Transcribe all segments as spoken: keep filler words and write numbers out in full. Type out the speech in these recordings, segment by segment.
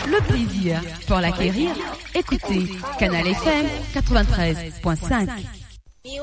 Le plaisir pour l'acquérir, écoutez Canal F M quatre-vingt-treize point cinq. Mi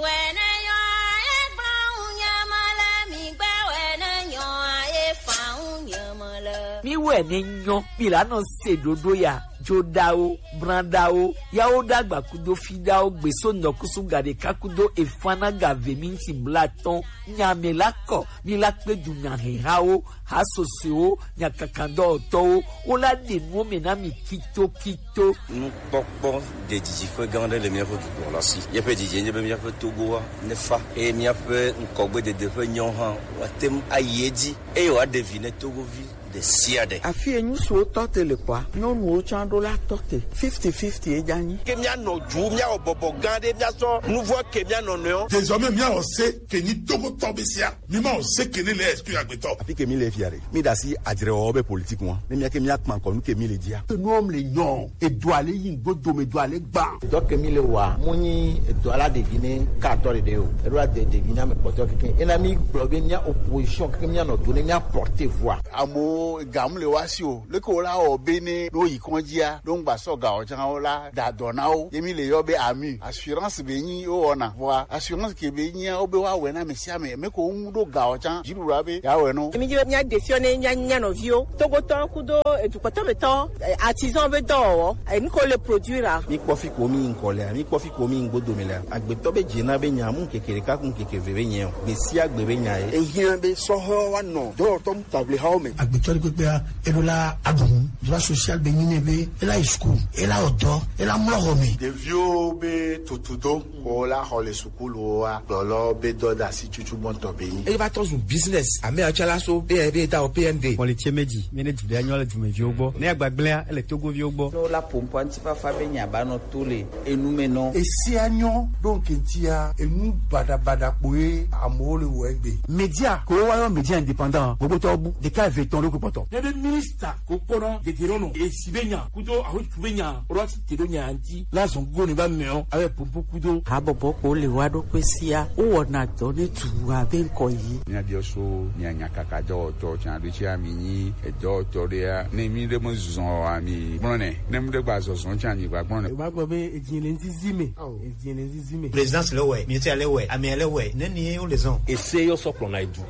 wɛ ne nyɔ, mi la nɔ se ɖoɖo ya, joɖawo, branɖawo, yawo ɖagba kudo fiɖawo, gbeso nɔkusu ga ɖeka kudo efana ga ve minti blatɔn, nya mi la kɔ, mi la kpe du nya hehawo, ha sosoewo, nya kakandɔwɔtɔwo, wo la ɖe nuwo me na mi kito kito. Nukpɔkpɔ ɖe didi ƒe gã aɖe le míaƒe dukɔ la si. Míaƒe didi nye be míaƒe Togoa nefa eye míaƒe ŋgɔgbedede ƒe nyawo hã woate ŋu ayi edzi eye wòaɖe vi ne Togovi ɖe sia ɖe. Afi yi ŋutsuwo tɔ te le kɔa, nyɔnuwo tsã ɖo la tɔ te. Fifty fifty ye dza nyi. Ke míanɔ du, míawɔ bɔbɔ gã aɖe, míasɔ nuvɔ ke mía nɔnɔewo. Désormais, míawɔ se ke nyi Togotɔ be sia. Mi ma o se ke ne le esprit agbetɔ. Afi ke mi le fia ɖe, mi ɖe asi adzrewɔwɔ be politique ŋua, ne mía ke mía kpa kɔ nu ke mi le dzia. Enuwo le nyɔ, edo ale yi ŋgbo dome do ale gba. Dɔ ke mi le wa, mu nyi edo ala ɖevi ne ka atɔ ɖeɖe o. Eɖo ade ɖevi na me kpɔtɔ keke. Ena mi gblɔ be mía opposition keke mía nɔ do ne mía porte voix. Amewo gam le wa si o. Leke wo la wɔ be ne ɖo yi kɔndzia, ɖo ŋgba sɔ ga o tsã wo la da dɔ na wo. Ye mi le yɔ be ami. Assurance be nyi wo wɔna. Vɔa assurance ke be nyia wo be wa wɛ na me sia me. Me ko ŋu ɖo ga o tsã. Dziɖuɖua be ya wɛ no. Mi dzi be mía ɖe fiɔ ne mía nya nɔviwo. Togotɔ kudo edukpɔtɔ betɔ, eh, artisan be dɔwɔwɔ. Eh, nu ko le produire a. Mi kpɔ fi ko mi ŋkɔ lea, mi kpɔ fi ko mi ŋgbo dome lea. Agbetɔ be dze na be nya mu keke ɖeka ku keke ve be nyɛ o. Gbe sia gbe be nya ye. Ehiã be sɔhɔ wa nɔ dɔwɔtɔ Table hawo me. Agbetɔ ɖe kpekpea, eɖo la aɖu nu. Droit social be nyi nɛ be ela yi school, ela wɔ dɔ, ela mlɔ xɔ me. Ɖeviwo be tutudo ko la xɔ le sukuluwoa, gblɔlɔ be dɔdeasi tutu gbɔntɔ be nyi. Eye va tɔ zu business. Ame atsɔ la so be be ta o P N D. Xɔ le tse me dzi, mi ne du ɖe anyɔ le dumeviwo gbɔ. Ne agbagblẽa, ele Togoviwo gbɔ. Ne wola pompoa ŋutifafa be nya ba nɔ to le enu me nɔ. Esia nyɔ ɖo ŋkɛntia, enu baɖabaɖa kpoe amewo le wɔ egbe. Media ko wa yɔ media indépendant, gbogbo tɔ bu, ɖeka eve etɔ̃ ɖo kpɔtɔ. Ne be minista ko kpɔna dedero nɔ, esi be nya, kudo ahotu be nya, ro asi te ɖo nya ŋuti, la zɔn go ne ba mɛɔ, abe pompo kudo. Habɔbɔ ko le wa ɖo kpe sia, wo wɔna dɔ ne tu abe ŋkɔ yi. Mía biɔ so, mía nya kaka dɔwɔtɔ, tsan ɖo tsi ami nyi, edɔwɔtɔ ɖea, ne mi ɖe me zɔn o, ami gblɔ nɛ. Ne mi ɖe gba zɔzɔ tsi anyi gba gblɔ nɛ. Ba gbɔ be edzi le ŋzizi me. Edzi le ŋzizi me. Présidence le wɛ, ministère le wɛ, amia le wɛ, ne ni ye wo le zɔn. Ese yɔ sɔ kplɔ na edu.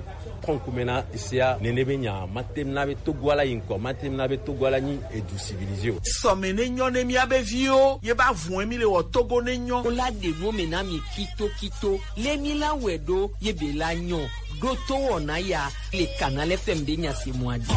Kɔnkume na esea, nene be nya, ma tem na be Togo ala yi ŋkɔ, ma tem na be Togo ala nyi edu civilisé o. Sɔme ne nyɔ ne mía be viwo, ye ba vun mi le wɔ Togo ne nyɔ. Wo la ɖe nu me na mi kito kito, le mi la wɛ ɖo, ye be la nyɔ. Ɖo to wɔna ya le Canal F M be nya se mɔa dzi.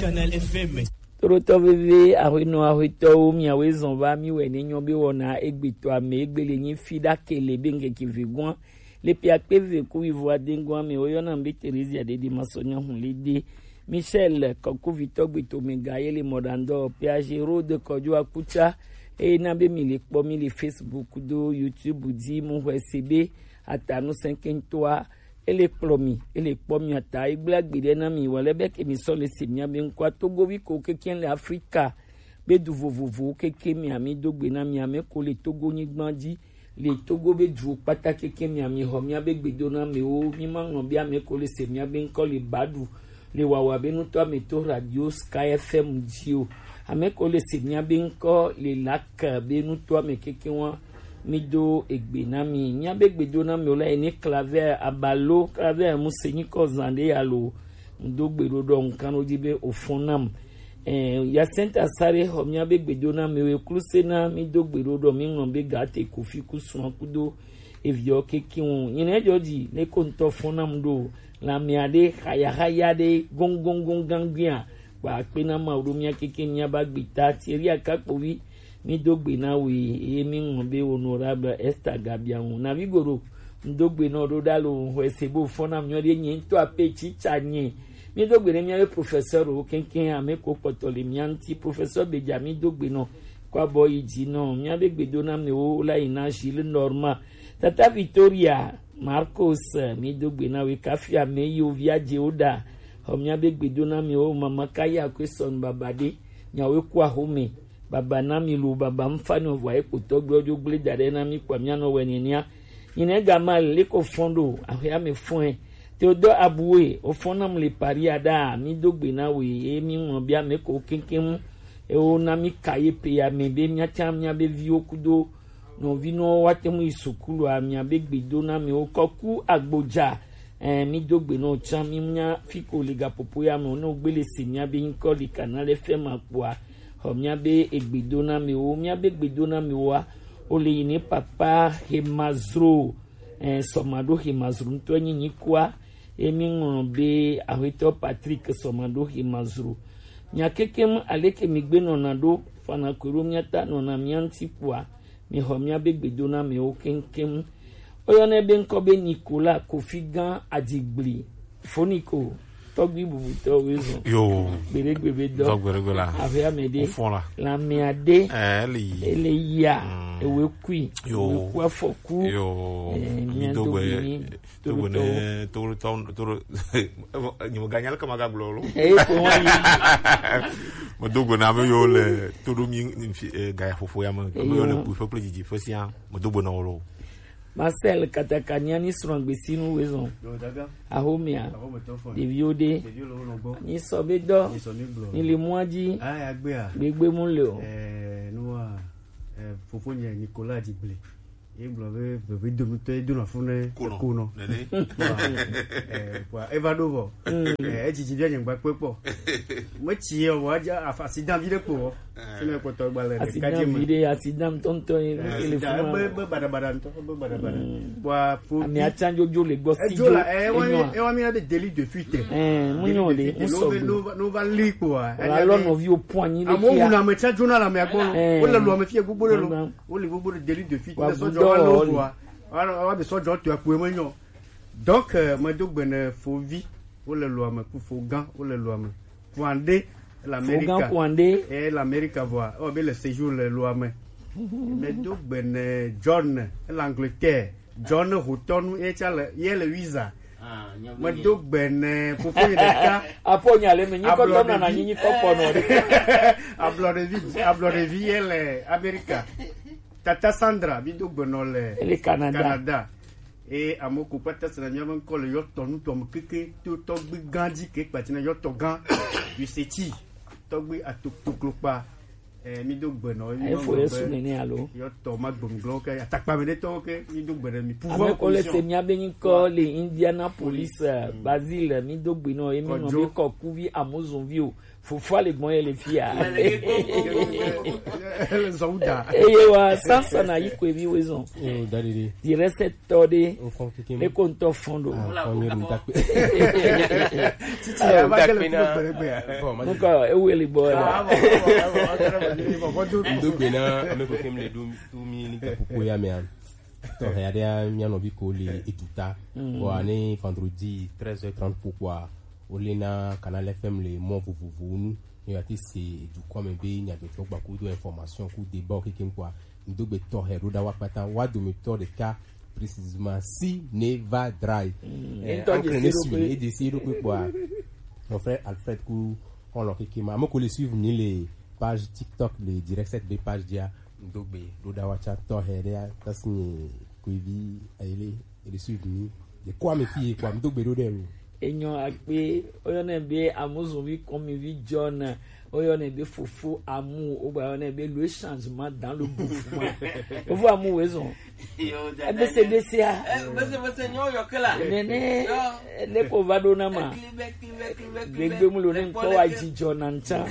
Canal F M. Toɖotɔ veve, ahuenɔ ahuetɔwo, miawoe zɔn va mi wɛ ne nyɔ be wɔna egbetɔ ame egbe le nyi fi ɖa ke le be ŋkeke ve gɔn. Le pe akpe ve ku wivo ade gɔn ame wo yɔna be Theresia Dede Masɔnya Hunlede. Michel Kɔkuvitɔ gbetome ga ye le mɔɖandɔ P A G Road kɔjo akuta. Eye na be mi le kpɔ mi le Facebook do YouTube di mu hwɛ se be atanu sɛnkɛntɔa. Ele kplɔ mi, ele kpɔ mi ata, egblẽ agbe ɖe na mi, wale be ke mi sɔ le se mia be ŋkɔa Togovi ko keke le Afrika, be du vovovowo keke mi ami do gbe na mi ame ko le Togo nyigba dzi, le Togo be duwo kpata keke mi ami xɔ mia be gbedo na mewo, mi ma ŋlɔ be ame ko le se mia be ŋkɔ le ba ɖu, le wawa be nutɔ ame to radio Sky F M dzi o. Ame ko le se mia be ŋkɔ le lak be nutɔ ame keke wa. Mi do egbe na mi. Mia be gbedo na mi o la yi ni Claver Abalo, Claver mu se nyi kɔ zan ɖe ya lo. Ŋdo gbe ɖo ɖɔ ŋkan ɖo dzi be o fɔn nam. Eh, Yasenta Sare xɔ mia be gbedo na mi o, kluse na mi do gbe ɖo ɖɔ mi ŋlɔ be ga te kofi ku sua kudo eviɔ keke ŋu. Nyine jɔ dzi ne ko ŋutɔ fɔn nam ɖo. Lamea ɖe xayahaya ɖe gongongong gangbia. Kpa akpe na Mawu ɖo mia keke mia ba gbe ta Thierry Akakpovi. Mi do gbe na we, eye mi ŋlɔ be honorable Esther Gabianwu. Na vi goɖo, ŋdo gbe nɔ ɖo ɖa lo, xɔe se bo fɔn na mi nyɔ ɖe nye ŋutɔ ape tsitsa nye. Mi do gbe ne mia be professeur wo keŋkeŋ ame ko kpɔtɔ le mia ŋuti. Professeur Beja mi do gbe nɔ, kɔ abɔ yi dzi nɔ. Mia be gbedo na me wo la yi na Gilles Norma. Tata Victoria, Marcos, mi do gbe na we kafi ame yi wo via dze wo ɖa. Xɔ mia be gbedo na mi wo mama ka ya ko sɔn baba ɖe. Nyawo ku axome. Baba na mi lo, baba ŋfa ni vɔ ekpotɔ gblɔ dzo gble da ɖe na mi kpa mia nɔ wɛ nenia. Nyine ga ma le ko fɔn ɖo, axɔe ame fɔe. Theodore Abue, ofɔna mu le Paris ada, mi do gbe na we, e mi ŋlɔ bia me ko keŋkeŋ, e wo na mi ka ye pe ya me be mia can mia be viwo kudo nɔvinɔwo wa te mu yi sukulu a, mia be gbe do na me wo kɔ ku agbodza, eh, mi do gbe na wo can mi nya fi ko le gapopo ya me wo ne wo gbe le se mia be nyikɔ le kana le fɛ ma kpoa, xɔ mia be egbe do na me wo, mia be gbe do na me wo a, o le yi ne papa he ma zro. Eh, sɔmaɖo he mazru ŋutɔ nyi nyikua, ye mi ŋlɔ be Aƒetɔ Patrick sɔmaɖo he mazru. Nya kekem aleke mi gbe nɔna ɖo, fana koe ɖo mia ta nɔna mia ŋuti kpoa, mi xɔ mia be gbedona mewo keŋkeŋ. Woyɔnɛ be ŋkɔ be Nicolas Kofi Gã Adzigbli. Foniko, tɔgbi bubutɔ woezɔn. Yo. Gbeɖegbe be dɔ. Dɔ gbeɖegbe la. Aƒea me ɖe. Wofɔ la. Lamea ɖe. Eh, ele yi. Ele yia. Mm. Ewe kui. Yo. Ewe ku afɔku. Yo. Eh, mi do gbe. Mi do gbe ne, to, to, to, nyimeganya le kama gagblɔ lo. Eh, ko wa yi. Me do gbe na ame yiwo le to ɖo mi, eh, gaya ƒoƒo ya me. Ame yiwo le kuƒe kple didiƒe sia. Me do gbe na wo lo. Marcel Katakania ni srɔ̃ gbesinu wezɔn. Yo, daga. Axomea. Axometɔ fɔ. Ɖeviwo ɖe. Ɖeviwo le wo nɔ gbɔ. Ni sɔ be dɔ. Ni sɔ mi gblɔ. Ni le mɔa dzi. Aya gbea. Gbegbe mu le o. Eh, nua, eh, fofo nye Nicolas Dzigble. Ye gblɔ be vevedomutɔ ye dona fu ne konɔ. Konɔ. Nene. Wa, eh, wa, eva ɖo vɔ. Mm. Eh, edzidzi bia nye gba kpe kpɔ. Metsi ye o, wa dza afa accident vi ɖe kpo. Sine kpɔtɔ gba le ɖeka dzi me. Accident vi ɖe, accident ŋutɔŋutɔ ye, eh, ele funa. Ebe, ebe baɖabaɖa ŋutɔ, ebe baɖabaɖa. Mm. Kpɔa, fo. Ame atsa dzodzo le gbɔ si edzo la, eh, ewa mi, ewa mi na be délit de fuite. Eh, mu nyo de, mu sɔ gbe. No va, no va li kpɔa. Wala lɔ nɔvi o pɔn anyi le kia. Amewo wuna ame tsa dzona le amea gbɔ. Eh. Wole lu ame fie gbogbo ɖe lo. Wole gbogbo ɖe délit de fuite. Wa ne sɔdzɔ va lo kpɔa. Wa, wa be sɔdzɔ to akpoe me nyɔ. Donc, euh, medo gbe ne fovi, wole loa me, ku fo gã, wole loa me. Kuande, le Amerika. Fo gã Kuande. Eh, le Amerika vɔa, ewɔ be le séjour le loa me. Medo gbe ne John, le Angleterre. John Hotɔnu, ye tsa le, ye le visa. Ah, nyɔvi. Medo gbe ne fofo yi ɖeka. Apo nya le me, nyi kɔtɔ na na nyi, nyi kɔkɔ nɔ ɖe. Ablɔɖevi, ablɔɖevi ye le Amerika. Tata Sandra, mi do gbe nɔ le Canada. Canada. Eye amewo ko kpata sena míaƒe ŋkɔ le yɔtɔ nutɔ me keke to tɔgbi gã dzi ke kpati na yɔtɔ gã. Yoseti, tɔgbi ato-, toklokpa. Eh, mi do gbe nɔ, mi efo nɔ Yesu be nene alo? Yɔtɔ ma gbem glɔ ke, atakpa me ɖe tɔwo ke, mi do gbe ɖe mi. Pouvoir commission. Ame ko le se mía be ŋkɔ le Indianapolis, eh, Basil, mi do gbe nɔ, ye mi nɔ be kɔ kuvi amozonvi o. Fofo le gbɔn ye le fia. Le zɔn da. Eye wa, sansa na yi kwe bi wezɔn. Yo, dadidi. Direct tɔ de. O fɔn keke. Ne ko ŋutɔ fɔn do. Ah, fɔn ye ŋutɔ kpe. Titi ya, va kele ŋutɔ kpe ya. Bon, ma. Nukɔ, ewe le bɔ ya. Ah, bon, bon, bon, bon, bon, bon, bon. Ndo gbe na, ame ko kem le do, do mi ni ka popo ya me an. Tɔ ya de ya, mia nɔvi ko le eduta. Mm. Bon, ane vendredi treize heures trente po kpɔa. Wole na Canal F M le mɔ vovovowo nu. Ne yewoate se dukɔ me be nyadzɔdzɔ gba kudo information ku débat kekeŋ kpɔa, ŋdo gbe tɔxɛ ɖo ɖa wa kpata. Wa dometɔ ɖeka précisément si ne va dra yi. Mm. Eh, ŋutɔ ankre ne dzesi suivre, eɖokui. Eɖesi eɖokui kpɔa, mon frère Alfred ku xɔlɔ kekeŋ ma. Ame ko le suivre mi le page TikTok le Direct Set be page dzia, ŋdo gbe ɖo ɖa wa tsa tɔxɛ ɖe ya tasi nye kuivi ayele. Ele suivre mi. De kɔ ame fi ye kɔ ame do gbe ɖo ɖe lo. Enyɔ akpe, woyɔnɛ be amozonvi kɔmivi John, woyɔnɛ be fofo amu, wogba yɔnɛ be le changement dans le mouvement. Fofo amu wezɔn. Yo, dada. Ebese bese a. Eh, bese bese nyɔ yɔ kela. Nene, yo. Ne ko va ɖo na ma. Ekli be, ekli be, ekli be, ekli be. Gbegbe mu lo ne ŋkɔ wa dzi John na ŋtsa.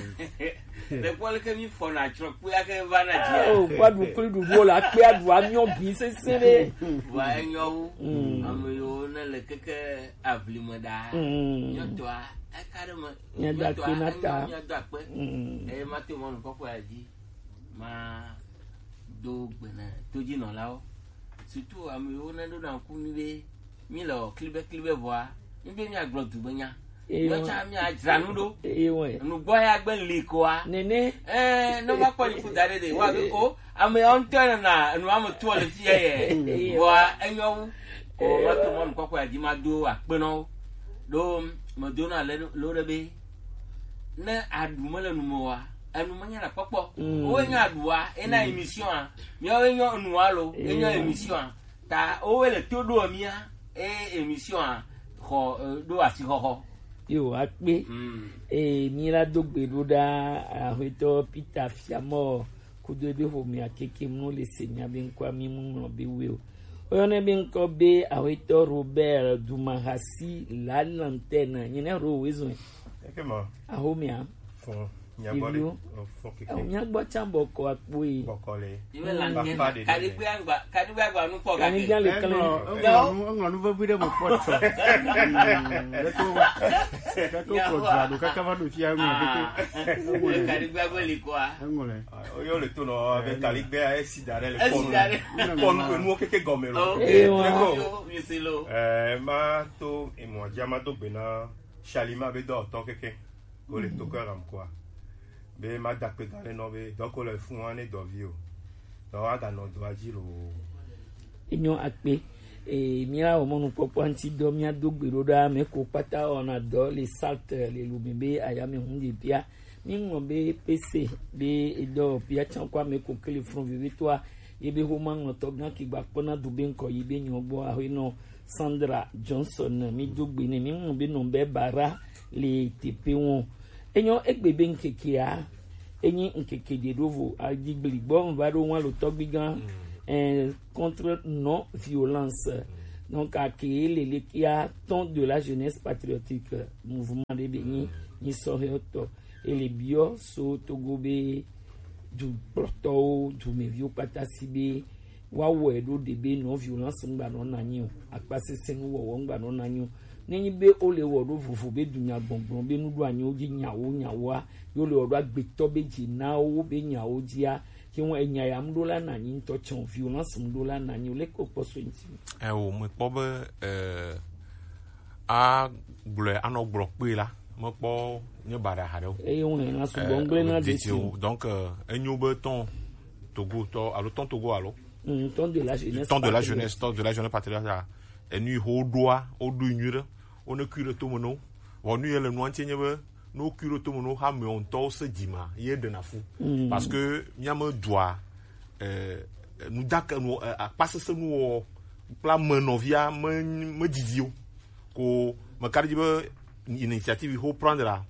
Le kpɔ leke mi fɔna tsrɔ kpea ke va na dzia. Oh, kpɔ ɖu kpli ɖuɖuwo le akpea ɖu anyɔ bi sese ɖe. Vɔa enyɔ wu. Mm. Ame yiwo ne le keke avli me ɖaa. Mm. Nyɔtɔa, eka ɖe me. Míado akpe na ta. Nyɔtɔa, enyɔ, míado akpe. Mm. Eye ma to mɔnu kɔkɔe ya dzi. Ma do gbe na todzinɔlawo. Surtout ame yiwo ne ɖo na ŋku mi be mi le wɔ klibe klibe vɔa, mi be mi agblɔ du be nya. Eye mi tsã mi adzra nu ɖo. Eye wɛ. Nugbɔ ya gbe li koa. Nene. Eh, ne ma kpɔ ni ku da ɖe ɖe, wa be o, ame yawo ŋutɔ nana enu ame toa le fi ya yɛ. Eye. Vɔa, enyɔ wu. Ko ma to mɔnu kɔkɔe ya dzi ma do akpe nɔ wo. Ɖo me do na le lo ɖe be, ne aɖu me le nu me wa, enu me nya na kpɔkpɔ. Mm. Wo nya aɖua, e na émission a. Miawo enyɔ enua lo, enyɔ émission a. Ta woe le to ɖo mía, e émission a, Xɔ, eh, ɖo asixɔxɔ. Yo, akpe. Mm. Eh, mi la do gbe ɖo ɖa, aƒetɔ Peter Fiamɔ, kudo ebe ƒomea keke mlɔ le se mia be ŋkɔa mi mu ŋlɔ be we o. Oyɔnɛ be ŋkɔ be aƒetɔ Robert Dumahasi la Lanterne, nyine ro wezɔn. Eke ma. Axomea. Fún. Ɖeviwo. Fún keke. Eo, míagbɔ tsã bɔkɔ akpo yi. Bɔkɔ le. Iwe la ngena. Kaɖigbe agba, kaɖigbe agba nu kpɔ gake. Kaɖigbe le klẽ. Eŋlɔ, eŋlɔ nu, eŋlɔ nu vevi ɖe me kpɔ tsɔ. Mm, ɖeko, ɖeko kɔ dua ɖo kaka va ɖo fia ŋlɔ keke. Ah. Eŋlɔ le. Kaɖigbe agbe li kɔa. Eŋlɔ le. Ah, oyo le to nɔ be kaɖigbe a esi da ɖe le kɔnu. Esi da ɖe. Kɔnu ke nuwo keke gɔme lo. Ok. Eye wa. Ɖeko. Yo, mi si lo. Eh, ma to emɔ dzi ma do gbe na Shalima be dɔ tɔ keke. Wo le to kɔ ram kɔa. Be ma da kpe ga le nɔ be dɔ ko le fún wa ne dɔvi o. Dɔ wa ga nɔ dɔa dzi lo. Enyo akpe. E, mía wɔ mɔnukpɔkpɔ ŋuti dɔ, mía do gbe ɖo ɖa ame ko kpata wɔna dɔ le salt le lu mi be ayame hun de bia. Mi ŋlɔ be P C be edɔ bia tsã kɔ ame ko kele front vevitɔa ye be homa ŋlɔtɔ gã ke gba kpɔna do be ŋkɔ yi be nyɔ gbɔ aho nɔ Sandra Johnson, mi do gbe nɛ, mi ŋlɔ be nɔ be bara le teƒe wɔn. Enyo egbe be ŋkekea, enyi ŋkeke ɖe ɖo vo, adzigbli gbɔ ŋva ɖo ŋwa lo tɔgbi gã, eh, contre non violence. Donc, ake lele kia temps de la jeunesse patriotique, mouvement ɖe be nyi, nyi sɔhɛ tɔ. Ele biɔ so Togo be dukplɔtɔwo, dumeviwo kpata si be woawɔe ɖo ɖe be non violence ŋgba nɔ na anyi o, akpasesẽ nuwɔwɔ ŋgba nɔ na anyi o. Nenyi be wole wɔ ɖo vovo be dunyagbɔgblɔ be nuɖoanyiwo dzi nyawo nyawoa, ye wole wɔ ɖo agbetɔ be dzi na wo be nyawo dzia, ke ŋu enya ya ŋɖo la na anyi ŋutɔ tsɛ o, violence ŋɖo la na anyi o, leke wokpɔ so eŋuti? Eo, mekpɔ be, eh, agblɔe anɔ gblɔ kpee la, mekpɔ nye baɖa haɖe o. Eye ŋu hena sugbɔ ŋgble na ɖe si o. Donc, eh, enyo be tɔn Togo tɔ alo tɔn Togo alo Mm, temps de la jeunesse. Temps de la patriote. Jeunesse, temps de la jeunesse patriote, ah, enu yi ho ɖoa, woɖo nyui ɖe, wo ne kui ɖe tome no. Vɔ nu ye le nua ŋuti nye be, ne wo kui ɖe tome no, ha me ŋutɔ wo se dzi ma, ye ɖe na fu. Mm. Parce que mía me dua, eh, nu dake nu, eh, akpasese nu wɔ kple ame nɔvia me, me didi o. Ko me ka ɖe dzi be initiative yi ho prendre la,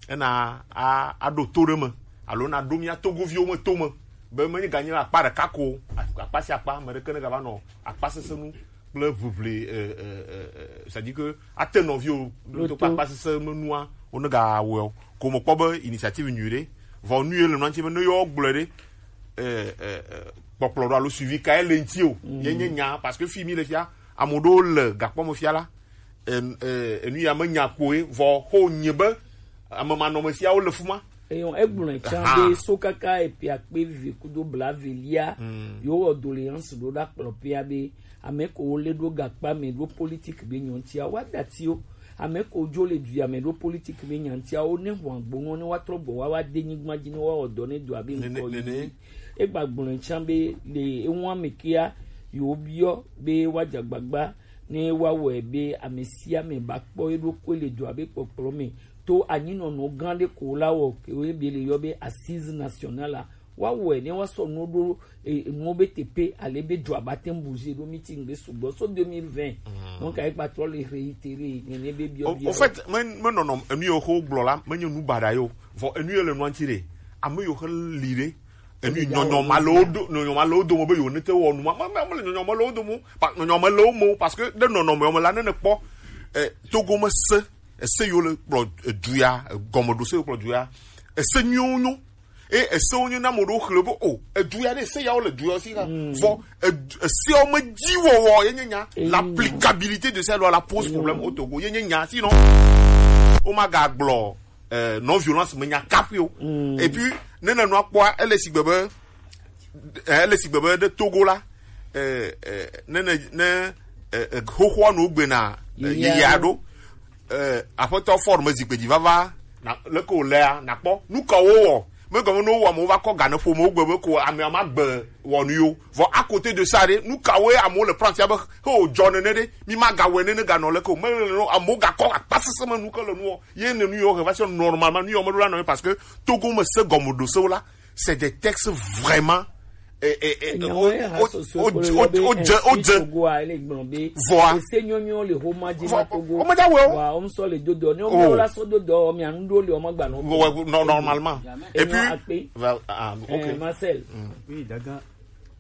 ena a, aɖo to ɖe me, alo na ɖo mía Togoviwo me to me, be menye ganye akpa ɖeka ko, akpa sia akpa, ame ɖeke ne gava nɔ akpasesẽ nu kple ʋiʋli, eh, eh, eh, eh, c'est-à-dire que ate nɔviwo ɖo to kple akpasesẽ me nua, wo ne gawɔe o. Ko mekpɔ be initiative nyui ɖe, vɔ nu ye le nua ŋuti be ne yewo gblɔe ɖe, eh, eh, eh, kpɔkplɔ ɖo alo suivi kae le ŋuti o, ye nye nya, parce que fi mi le fia, ame ɖewo le gakpɔ me fia la, en-, eh, enu ya menya kpoe, vɔ xo nye be ame manɔmesiawo le fuma. Eyɔn, egblɔe tsã be so kaka eƒe akpe eve kudo blaeve lia, yewɔ doléance ɖo ɖa kplɔ ƒea be ame ko wo le ɖo gakpa me ɖo politique be nyɔ ŋutia, wa dati o. Ame ko dzo le du ya me ɖo politique be nya ŋutia, wo ne hu agbonu ne wa trɔ gbɔ wa, wa de nyigba dzi ne wa wɔ dɔ ne du abe ŋkɔ yi. Egba gblɔe tsã be le eŋua me kea, yewo biɔ be wa dze agbagba ne woawɔe be ame sia ame ba kpɔ eɖokui le dua be kpɔkplɔ me to anyinɔnɔ gã ɖe ko la wɔ, ke wo be le yɔ be assise nationale la, woawɔe ne woasɔ nuwo ɖo, e, nuwo be teƒe ale be dua ba te ŋu bouger ɖo meeting be sugbɔ so deux mille vingt. Donc, ayi gba trɔ le réitérer nene be biɔ. Au, biɔ. Au fait, me, me nɔnɔ enu yewo xo gblɔ la, menye nu baɖa yo. Vɔ enu ye le nua ŋuti ɖe, ame yewo xe li ɖe, enu nyɔnyɔ ma le wo do, nyɔnyɔ ma le wo dome be yewo ne te wɔ nu ma, ma, ma, ma le nyɔnyɔ ma le wo dome o. Pa-, nyɔnyɔ ma le wo me o, parce que ɖe nɔnɔme me la, ne ne kpɔ, eh, Togo me se, ese yewo le kplɔ, eh, du ya, eh, gɔmeɖose yewo kplɔ du ya, ese nyuiwo nyo. E, esewo nyo na ame ɖewo xlẽ be, o, edu ya ɖe, ese yawo le du ya si ha. Vɔ, edu-, eseawo me dzi wɔwɔ ye nye nya. L'applicabilité de ces lois la pose problème au Togo. Ye nye nya. Sinon, o ma ga gblɔ, euh, non-violence me nya kaƒui o. Et puis, ne nènɔ kpɔa, ele sigbe be, eh, ele sigbe be ɖe Togo la, eh, eh, ne, ne, ne, eh, eh, xoxoa no gbe na, eh, yeyea ɖo. Eh, Aƒetɔ Ford me zikpe dzi vava, na, leke wòlea, nakpɔ. Nu ka wowɔ? Megɔme ne wowɔ amewo va kɔ ga ne ƒomewo gbe be ko amea ma gbe wɔnu yo. Vɔ à côté de ça ɖe, nu ka woe amewo le prendre be he wòdzɔ nene ɖe, mi ma gawɔe nene ganɔ leke o. Mele nene o, amewo gakɔ akpasesẽ me nu ke le nuwɔ. Ye ne nu yiwo he va se normalement, nu yiwo meɖo la nɔ ye parce que Togo me se gɔmeɖosewo la, c'est des textes vraiment, Enyawo ye ha sɔsɔ kpolo yɔ be, eh, Togo a, ele gblɔ be, vɔa, ese nyɔnyɔ le homa dzi na Togo. Homa dza wɔ. Wa, wɔm sɔ le dodo. Ne wɔm la sɔ dodo, mi anu do le wɔm gba nɔ. Normalement. Et puis, akpe. Ah, ok. Marcel. Oui, daga,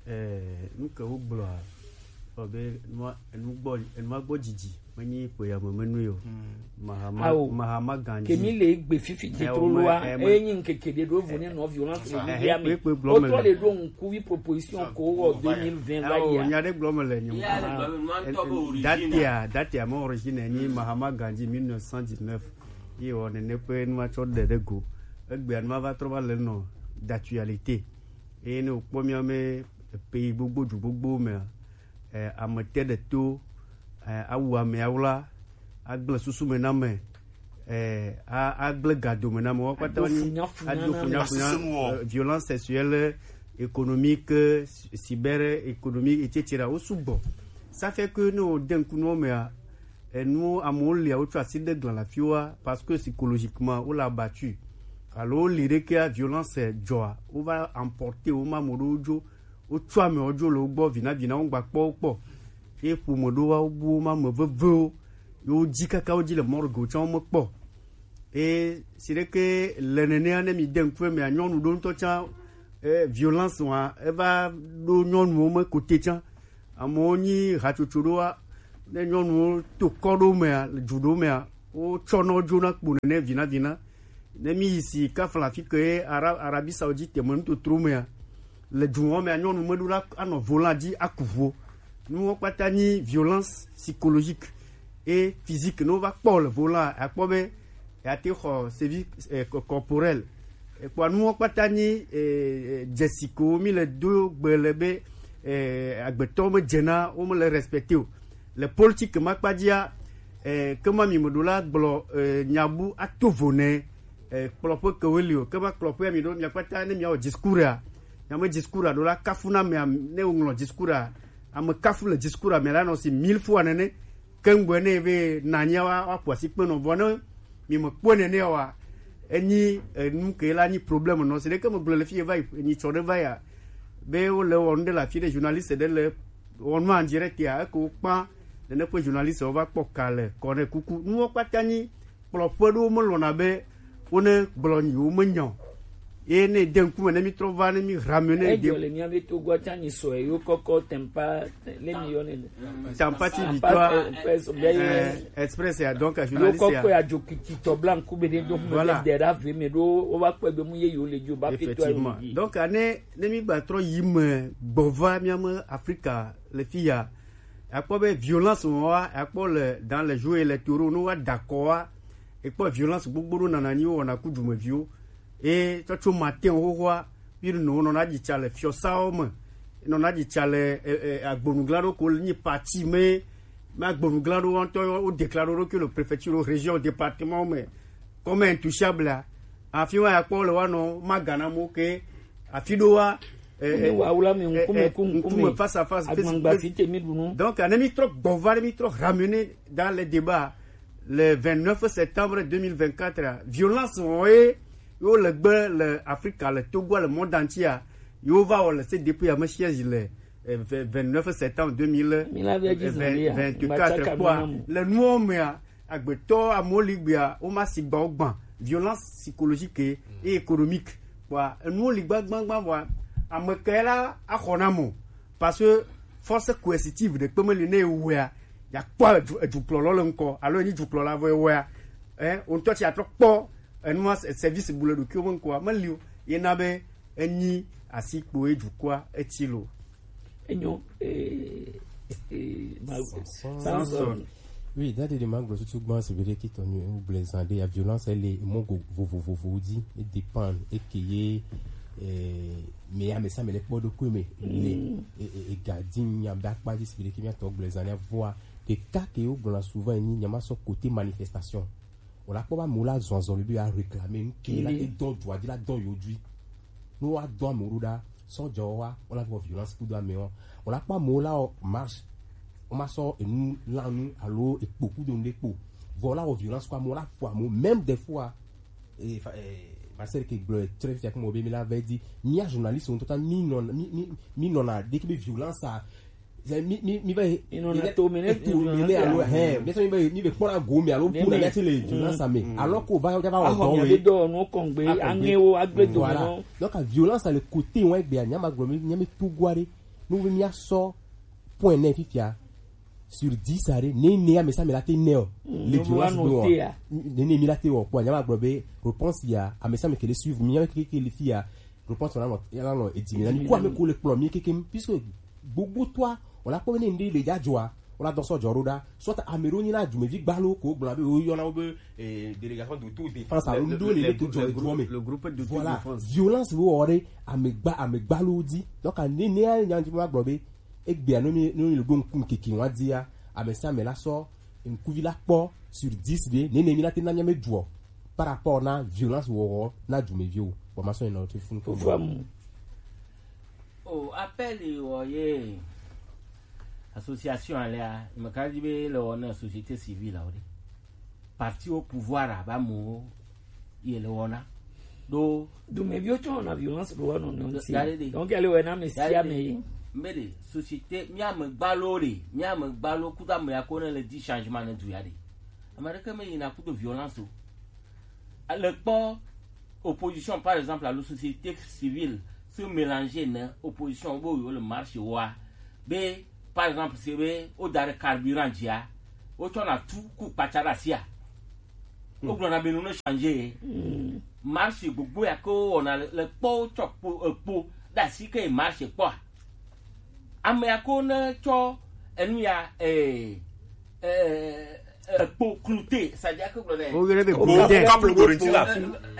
eh, nu ke wo gblɔ a, ɔ be, nua, enu gbɔ, enu gbɔ dzidzi. Menyi kpe ya me menu yo. Mahama, Ao. Mahama Gandhi. Kemi le gbe fifi Eh, titro o me, loa, eh, me- enyi nkeke de do vo ne no violence le eh, Libya me. Kpe, kpe gblɔ me O to le. Le do nku wi proposition ko wo deux mille vingt va Ao, ya. Nya de gblɔ me le nyi. Ya, le gblɔ me, nua ŋutɔ be origine. Datia, datia mo origine ni Mahama Gandhi mille neuf cent dix-neuf. Ye wo ne ne pe nua tsɔ de de go. Egbe anua va trɔ va le no d'actualité. Eye ne wokpɔ mía me pays gbogbo du gbogbo me, eh, ame te ɖe to, eh, awu ame awla, agblẽ susu me na ame, eh, a-, agblẽ gado me na ame. Wo kpata wonyi ado funyafunya, eh, violence sexuelle, économique, euh, cyber économique, et cetera. Wo sugbɔ. Ça fait que ne wo de ŋku nuwo mea, enu amewo lia, wotsɔ asi de gla le afi wa, parce que psychologiquement, wo le abattu. Alo wo li ɖekea, violence dzɔa, wo va emporter, wo ma ame ɖewo dzo, wotsɔ amewo dzo le wo gbɔ, vinavina wo gba kpɔ wo kpɔ. Ye ƒome ɖo wa, wo bu wo ma ame vevewo, ye wo dzi kaka wo dzi le morgue tsã wo mekpɔ. Ye si ɖeke le nenea, ne mi de ŋku emea, nyɔnu ɖo ŋutɔ tsã, eh, violence wa, eva ɖo nyɔnuwo me kote tsã. Amewo nyi hatsotso ɖoa, ne nyɔnuwo to kɔ ɖo mea, le dzu ɖo mea, wotsɔna wo dzona kpo nene vinavina. Ne mi yi si kafla fi ke ye Ara-, Arabie Saoudite me nutotro mea, le dzuwo mea, nyɔnu meɖo la anɔ volant dzi aku ʋuwo. Nuwo kpata nyi violence psychologique et physique. Ne wova kpɔ le volant, akpɔ be yeate xɔ sévices, eh, co-, corporels. Ekpɔa nuwo kpata nyi, eh, eh, dzesi ko mi le do gbe le be, eh, agbetɔ me dzena, wo me le respecter o. Le politique ma kpa dzia, eh, ke ma mi me ɖo la gblɔ, eh, nyabu ato vo ne, eh, kplɔƒe ke wo li o. Ke ma kplɔƒe mi ɖo, mia kpata ne mia wɔ discours a, mia me discours a ɖo la kafu na mea, ne wo ŋlɔ discours a, ame kafu le discours a me la nɔ si mille fois nene. Ke ŋgɔe ne be nanya wa, wa ƒo asi kpe nɔ. Vɔ ne mi me kpɔe nene wa, enyi, eh, nu ke la nyi problème nɔ. Si ɖeke me gblɔ le fi ye va yi, enyi tsɔ ɖe va ya. Be wo le wɔ nu ɖe le afi ɖe, journaliste ɖe le wɔ nu en direct ya, eko kpa, nene ƒe journaliste wo va kpɔ ka le kɔ ne kuku. Nuwo kpata nyi kplɔƒe ɖewo melɔ̃na be wone gblɔ nyi womenya o. Ye ne de ŋkume ne mi trɔ va, ne mi ramener de. Edzɔ le mía be Togoa tsã nyi sɔe yo kɔkɔ tempa, le mi yɔ ne. Tampati Victoire, eh, Express ya, donc, yo journaliste ya. Kɔkɔ ya dzo kiti tɔ bla ŋku be de do ŋkume. Voilà. De da ve me ɖo, wo va kpɔe be mu ye yo le dzo ba pe to. Effectivement. Donc, ne, ne mi gba trɔ yi me gbɔ va mía me Afrika le fi ya, akpɔ be violence wa, akpɔ le dans les jours électoraux, no wa dakɔ wa, ekpɔ violence gbogbo ɖo nana nyi wo wɔna ku dumeviwo. E tsɔtso matin xoxoa, bi no nɔna dzi tsa le fiɔsawo me, nɔna dzi tsa le, e, e, agbonugla ɖo ko nyi parti me, me agbonugla ɖo ŋutɔ wo déclare ɖo ke le préfecture, région, département me, comme intouchable a. Afi wa akpɔ le wa nɔ ma gana mo ke, afi ɖo wa, eh, eh, wa wula mi eh, ŋkume eh, ku ŋkume, ŋkume, face à face, agbangba face, si te mi ɖu nu. Donc, ne mi trɔ gbɔ va, ne mi trɔ ramener dans les débats, le vingt-neuf septembre deux mille vingt-quatre, violence wo ye, yo le gbe le Afrika, le Togo, le monde entier, yo va wɔ le C D P ya me siège le, eh, vingt-neuf septembre deux mille vingt-quatre kpɔa, le nuwo mea, agbetɔ amewo li gbea, wo ma si gba wo gbã, violence psychologique et économique. Kpɔa, enuwo li gbagbagba vɔa, ame kae la axɔ na mo? Parce que force coercitive ɖe kpe meli ne ewɔea, ya kpɔ edu-, edukplɔlɔ le ŋkɔ, alo enyi dukplɔla vɔ ewɔea, eh, wo ŋutɔ tsi atrɔ kpɔ enua se-, service bu le ɖokuiwo me ŋkɔa, meli o. Ye na be enyi asi kpo ye dukɔa etsi lo. Enyo, eh, eh, ma-, Samson. Samson. Oui, dadi de magblɔ tutu gbã, c'est vrai que ton ou blezan de la violence, elle est mongo vovovovo di, e dépend, e ke ye, eh, mais ya me sa me le kpɔ ɖokui me, le, e, e, e gardien ya be akpa di, c'est vrai que mi atɔ blezan ya voa, ke ka ke yo gblɔna souvent ni, nya ma sɔ côté manifestation. O la kpɔ ba mo la zɔn azɔn le bi a réclamer nu ke la e dɔn dua di la dɔn yo dui. No wa dɔn mo ɖo ɖa, sɔ jɔ wa, o la vɔ violence kudo ame wa. O la kpɔ mo la o marche, o ma sɔ enu lanu alo ekpo kudo nu ɖe kpo. Vɔ la o violence kɔ mo la fo mo, même des fois, eh, fa-, eh, Marcel ke gblɔ trɛ fia kuma be mi la vɛ di. Mi a journaliste ŋutɔ ta mi nɔ mi mi mi nɔna ɖeke be violence a. Mi mi mi vɛ mi nɔna to mi ne to mi ne alo hɛ mi sɔ mi vɛ mi vɛ kpɔna go mi alo kuna mi ati le violence a me. Alors ko va va wɔ dɔ we dɔ no kɔngbe aŋewo agbe do no. Donc violence a le côté wa gbe a nyama gblɔ mi nyami to gwa ɖe. No be mi a sɔ point ne fifia. Sur dix aɖe, ne ne amesa mi la te ne o. Le violence be wa. Ne ne mi la te wɔ kpɔ, nyama gblɔ be réponse ya, amesa mi kele suivre, mi nyama keke kele fi ya, réponse na nɔ ya la nɔ edzi mi na mi ko ame ko le kplɔ mi keke, puisque gbogbo toa, o la kpɔ be ne nde le dza dzɔa, o la dɔ sɔ dzɔ ɖo ɖa, soit ame ɖo nyi na dumevi gbalo ko gblɔ be o yɔna wo be eh, délégation d'autodéfense alo ŋɖo le le to dzɔ le groupe me. Le groupe d'autodéfense. Voilà, violence wo wɔ ɖe ame gba ame gbalo dzi. Donc ne ne ya nya ŋdi ma gblɔ be egbea no mi no mi le ɖo ŋku ŋkeke wa dzia, ame sia ame la sɔ ŋkuvi la kpɔ sur dix ɖe, nene mi la te na mia me duɔ par rapport na violence wɔwɔ na dumeviwo. Bon, ma sɔ ina o te fun ko. Fua mu. O appel wɔ ye association alea, me ka di be le wɔ na société civile o de. Parti au pouvoir a ba mo ye le wɔna. Do dumeviwo tsɔ na violence ɖo wɔna nɔ ŋuti. Donc elle wɔ na me sia me yi. Mbe de société mi ame gbalo de mi ame gbalo kudo ame ya ko ne le di changement ne du ya de. Ame ɖeke me yina kudo violence o. Le kpɔ opposition par exemple alo société civile se mélanger ne opposition bo yo le marche wa be par exemple se be o da ɖe carburant dzia o tsɔ na tu ku kpatsa ɖe asia. Wogblɔna be nu ne change. Marche gbogbo ya ke wowɔna le kpɔwo tsɔ kpo ekpo ɖe asi ke marche kpɔa. Ame ya ko ne tsɔ enu ya eh, eh, ekpo klute sadia ke gblɔ nɛ. Wo yɔnɛ be o kaplu go ɖe ŋuti la.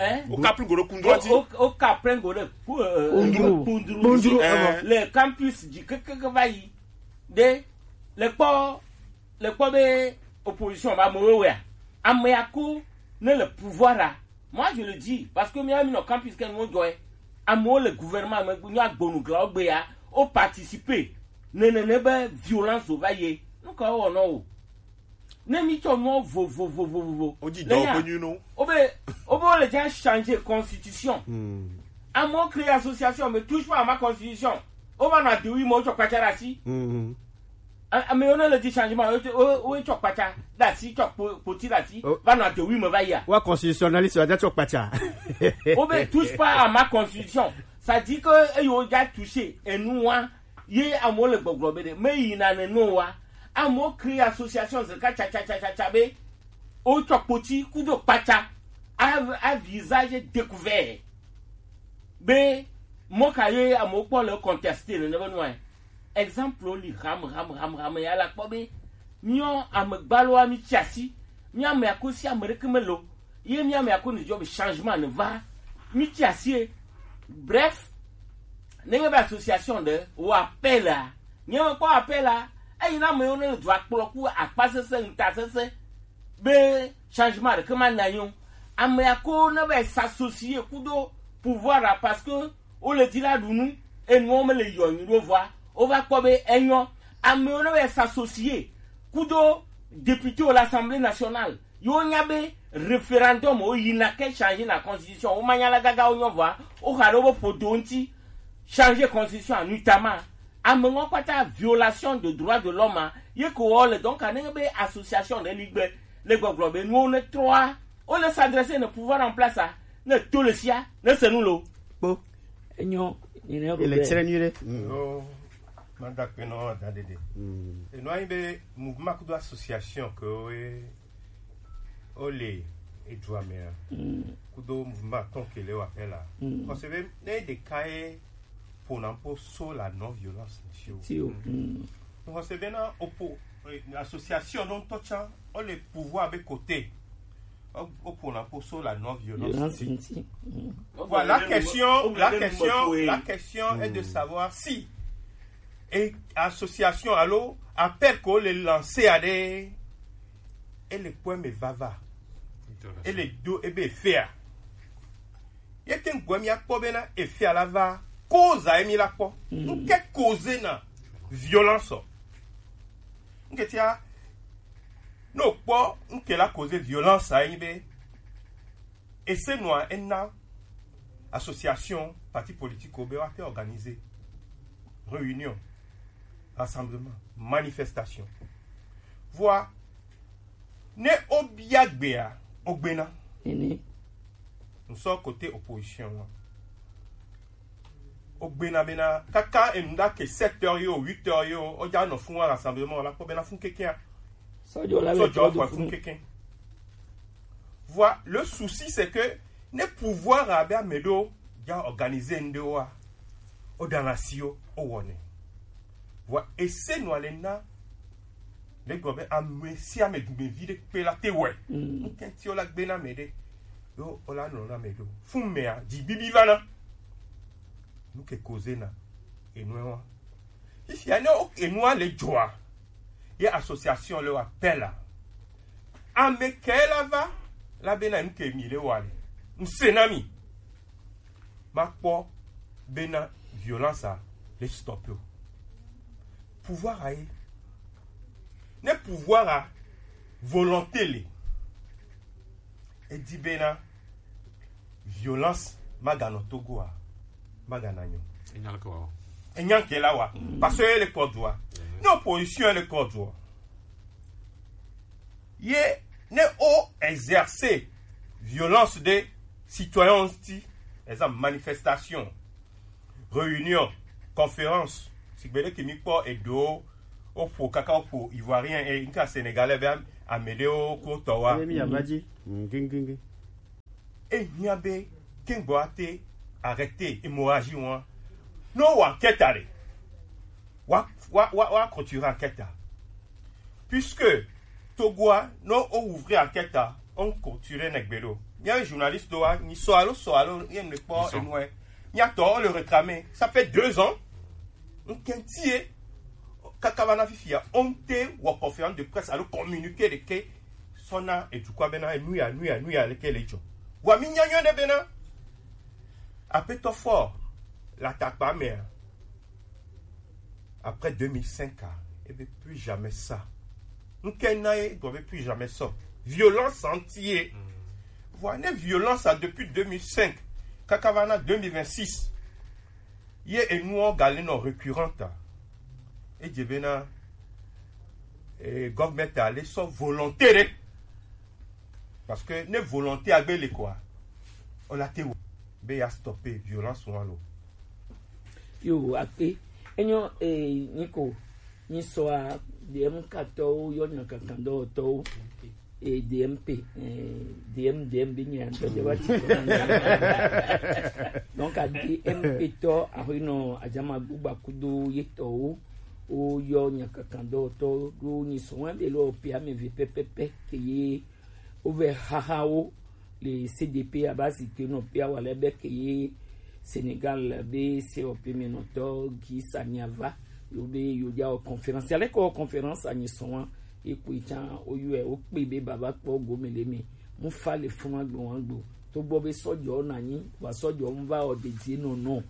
Eh? O kaplu go ɖe kundru ŋuti. O kaplu go ɖe kundru kundru le campus dzi kekeke va yi ɖe le kpɔ le kpɔ be opposition ba amewo wea ame ya ko ne le pouvoir a. Moi je le dis parce que mi mi nɔ campus ke nuwo dzɔe amewo le gouvernement me nyo agbonu glawo gbe ya o participer ne ne ne be violence va ye nu ka wɔ nɔ o ne mi tsɔ nuwo vovovovovo o di dɔ ko nyu no o be o be o le dza changer constitution amewo créer association mais touche pas à ma constitution o va nɔ adewi me o tsɔ kpatsa ɖe asi. Ame yiwo ne le di changement wo wo tsɔ kpatsa ɖe asi tsɔ kpoti ɖe asi va nɔ adewi me va yia. Wa constitutionnaliste wa tsɔ kpatsa. Wo be touche pas à ma constitution. Ça dit que eyi wo dza toucher enu wa ye amewo le gbɔgblɔ be ɖe me yina ne no wa amewo créer association zeka tsatsatsatsa be wo tsɔ kpoti kudo kpatsa a a visage découvert. Be mɔ ka ye amewo kpɔ le contesté nene be nua. Exemple li ham ham ham ham ya la kpɔ be miɔ amegbaloa mi tsi asi mi ame ako si ame ɖeke me lo ye mi ame ako ne dzɔ be changement ne va mi tsi asi ye. Bref, nenye be association ɖe wɔ appel a nye me kpɔ appel a eyi na ame yiwo ne le dua kplɔ ku akpa sese ŋuta sese be changement ɖeke ma na nyo. Ame ya ko ne va s'associer kudo pouvoir la parce que wo le di la ɖu nu enuwo me le yɔ nyi ɖo vɔa wo va kpɔ be enyɔ. Ame yiwo ne va s'associer kudo député wo l'Assemblée nationale yiwo nya be référendum wo yina ke changer na constitution wo ma nya la gaga wo nyɔ vɔa wo xa ɖe wo be ƒodo ŋuti changer constitution a nuitama. Ame ŋɔ kpata violation de droit de l'homme a ye ko wɔ le donc a ne be association ɖe li gbe le gbɔgblɔ be nuwo ne trɔa wo le s'adresser ne pouvoir en place a ne to le sia ne se nu lo. Kpo. Enyo. Ele tsere nyuie ɖe. Yo, mada kpe nɔ da ɖeɖe. Enɔ anyi be mouvement kudo association ke wo wo le edua mea kudo mouvement atɔn ke le wa pɛ la. Parce que ne ɖeka ye ƒona ƒo so la non violence ŋuti o. Ŋutɔ se bena opo association ɖo ŋutɔ tsã wole pouvoir be côté. Woƒona ƒo so la non violence ŋuti. Voilà, la question, la question, la question est de savoir si et association alo appel ko le lancer à des et le point me va va et le do et be faire. Ye te ŋgɔe míakpɔ bena efia la va koza ye mí la kpɔ. Nuke koze na violence ɔ? Nuke tia ne okpɔ nuke la koze violence a ye nyi be ese nua ena association, parti politique, be wa te organiser réunion, rassemblement, manifestation. Voilà. Ne obia gbea, ogbena. Nini? Nous sommes côté opposition. Ogbena bena, kaka enda ke sept heures yo, huit heures yo, oja no fun wa rassemblement, la po bena fun keke. Sojo la So, le jo, quoi, fun keke. Voilà, le souci, c'est que ne pouvoir a be ameɖewo ja organiser ŋɖewoa, o ɖana si wo, o wɔnɛ. Voilà, et c'est nous allons na, le gobe ame si ame dumevi ɖe kpe la te wɛ. Mm. Ŋkɛnti o la gbe na me ɖe, yo o la nɔ na me ɖo. Fun mea, dzi bibi va na. Nu ke koze na, enu wa. Fifia ne o, enua le dzoa, ye association le wa appel a. Ame ke la va, la bena nu ke mi le wa le. Ŋse na mi. Ma kpɔ bena violence a le stop o. Pouvoir a ye. Ne pouvoir a volonté le. E di bena violence maganɔ Togo a, magana nyɔ. Enya ke wa. Enya ke la wa. Parce que le code wa. Ne opposition le code wa. Ye ne o exercer violence de citoyen ti, exemple manifestation, réunion, conférence, si gbede ke mi kpɔ edo o ƒo kaka o ƒo ivoirien et nka sénégalais be am-, ameɖewo ko tɔ wa. Emi ya va dzi. Ngengenge. E hiã be kengbo ate arrêter hémorragie wa. No wa enquête are. Wa, wa, wa, wa continuer enquête a. Puisque Togoa, no o ouvrir enquête a, on continuer ne gbelo. Mia journaliste wa, ni so alo, so alo, ye ne pas. Ni so. Enue. Mia to le réclamer. Ça fait deux ans. Ŋkɛnti ye, kaka va na fifia, on te wɔ conférence de presse alo communiqué de ke sɔna edukɔa bena enu ya, nu ya, nu ya le ke le dzɔ. Wa mi nya nyɔ ɖe bena, apetɔ fɔ, la takpa mea, après deux mille cinq a, e be plus jamais ça. Ŋkɛ na ye, gɔ be plus jamais ça. Violence anti ye. Voilà, ne violence a depuis deux mille cinq, kaka va na deux mille vingt-six. Ye enuwo ga le nɔ récurrente a. E dze bena, eh, government a le sɔ volonté ɖe. Parce que ne volonté a gbe le quoi, on a te be ya stopper violence wa lo. Yo, akpe. Enyo, eh, niko, ni so a, D M K tɔwo, yɔ nya kankan dɔwɔtɔwo. E D M P, eh, D M, D M be nya ŋutɔ de wa ti. Donc, a D M P tɔ, a ho nɔ, a jama gbugba kudo ye tɔwo, o yɔ nya kankan dɔwɔtɔ, do ni so wa be lo pe ame ve pɛpɛpɛ, ke ye, o ve haha wo, le C D P a ba si te nɔ pe a wa le be ke ye, Sénégal be se o pe me nɔ tɔ, gi sa nya va, yo be yo ja o conférence, ale ko conférence a ni so wa, Ekpɔe tsã woyɔe, wokpee be baba kpɔ gome le eme. Mu fa le funu agbe wa gbe o. Togbɔ be sɔjɔ na nyi, wa sɔjɔ mu va ɔ dedie nɔnɔ.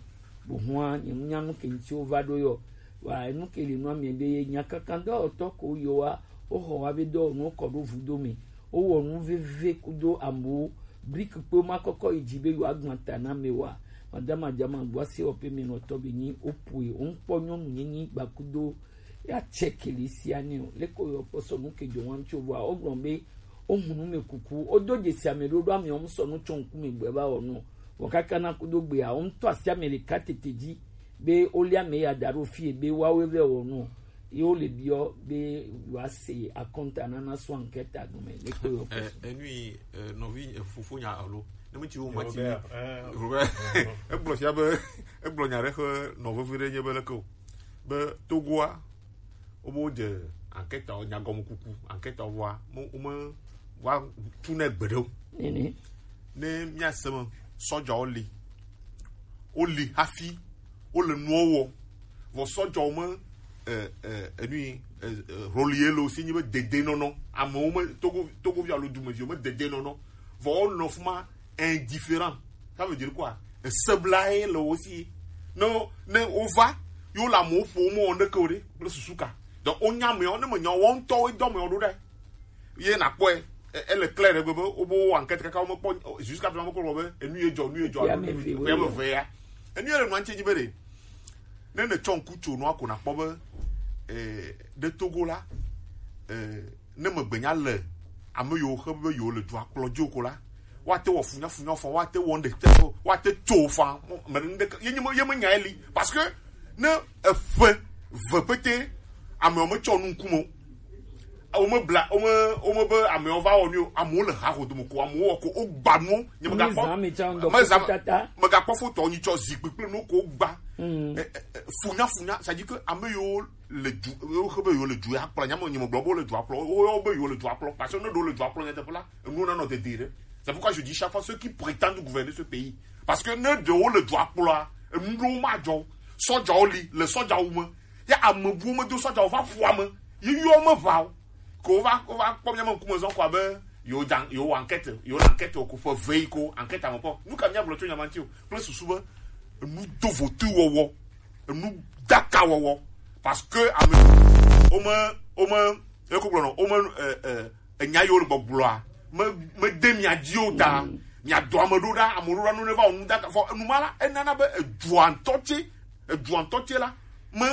Bo hua nye mu nya nu ke ŋuti wo va ɖo yɔ. Wa enu ke le nua mia be ye nya kankan dɔwɔtɔ ko yɔ wa, wo xɔ wa be dɔwɔnu kɔ ɖo vudo me. Wo wɔ nu veve kudo amewo. Brique kpe ma kɔkɔ yi dzi be yewoagblẽ ta na ame wa. Madama Djama gbɔ ase wɔƒe me nɔtɔ be nyi woƒoe. Woŋkpɔ nyɔnu nyenye gba kudo ya tsɛ kele sia nɛ o. Leke woyɔ kpɔ sɔ nu ke dzɔ wa ŋuti o vɔa wogblɔ be wohu nu me kuku. Wodo dzesi ame ɖo ɖo ame wɔm sɔ nu tsɔ ŋkume gbɛ va wɔ nu. Vɔ kaka na kudo gbea, woŋtɔ asi ame ɖeka tete dzi be wolia ame ya da ɖo fie be woawoe vɛ wɔ nu. Ye wole biɔ be yewoase akɔnta nana sɔ ankɛta gɔme. Leke woyɔ kpɔ sɔ. Eh, enui, eh, nɔvi, eh, fofo nya alo. Ne me tsi wo ma tsi. Robert, eh. Robert, egblɔ fia be, egblɔ nya ɖe xe nɔ vevi ɖe nye be leke o. Be Togoa, wobe wodze ankɛtawo, nyagɔmekuku, ankɛtawo vɔa, mo-, wome va tu ne gbeɖe o. Nene. Ne míase me, sɔdzawo li. Woli hafi, wole nuwo wɔ. Vɔ sɔdzawo me, eh, eh, enui, eh, eh, roli ye le wo si nyi be dedenɔnɔ. Amewo me, Togo, Togovi alo dumeviwo me dedenɔnɔ. Vɔ wonɔ fuma indifférent. Ça veut dire quoi? Esebla ye le wo si. Ne, ne wova, yewo le amewo ƒom, wowɔ neke o ɖe, kple susu ka? Donc, wonya ameawo, ne menya wo, woawo ŋutɔwoe dɔ ameawo ɖo ɖe. Ye nakpɔe. E- ele clair ɖe gbe be wobe wo enquête kaka wo mekpɔ, jusqu'à présent mekpɔ be enu ye dzɔ, nu ye dzɔ, ya me ve ya. Enu ye le nua ŋuti dzi be ɖe ne ne tsɔ ŋku tso nua ko nakpɔ be eh, ɖe Togo la eh, ne megbenya le ame yiwo xe be yewo le dua kplɔ dzi o ko la, woate wɔ funyafunya fɔ, woate wɔ ɖe te fɔ, woate tso fɔ, me ɖe ŋɖe ye nye ye menya eli, parce que ne eƒe ve pete amewo metsɔ nu ŋkume o. Wome bla wome wome be amewo va wɔ nu o, amewo le ha xo dome ko, amewo wɔ ko, wogba nuwo. Nye megakpɔ mezã mi tsã ŋdɔ mezã tata. Megakpɔ foto nyi tsɔ zikpui kple nu ko gba. Mm. Eh, eh, eh, funya funya, c'est-à-dire que ame yiwo le du yewo xe be yewo le du ya kplɔ, nyame nyeme gblɔ be wo le du akplɔ, wo yɔ be yewo le du akplɔ, parce que ne ɖewo le du akplɔ nyateƒe la, enu na nɔ dede ɖe. C'est pourquoi je dis chaque fois ceux qui prétendent gouverner ce pays, parce que ne ɖewo le du akplɔa, enu ɖewo ma dzɔ. Sɔdzawo li le sɔdzawo me. Ya ame buwo medo sɔdza wova ƒua me. Yi yɔ me ʋa o. Ko wova wova kpɔ míame ŋkume zɔ ko abe yewo dza yewo wɔ enquête yewo le enquête o ko ƒe ve yi ko enquête ame kpɔ. Nu ka míagblɔ tso nya ma ŋuti o? Kple susu be enu do votu wɔwɔ, enu daka wɔwɔ, parce que ame wome wome eko gblɔ nɔ wome eh, eh, enya yiwo le gbɔgblɔa me mede mia dzi o ta. Mia dɔ ame ɖo ɖa, ame ɖo ɖa nu ne va wɔ nu daka fɔ enu ma la enana be edua ŋutɔ tse edua ŋutɔ tse la me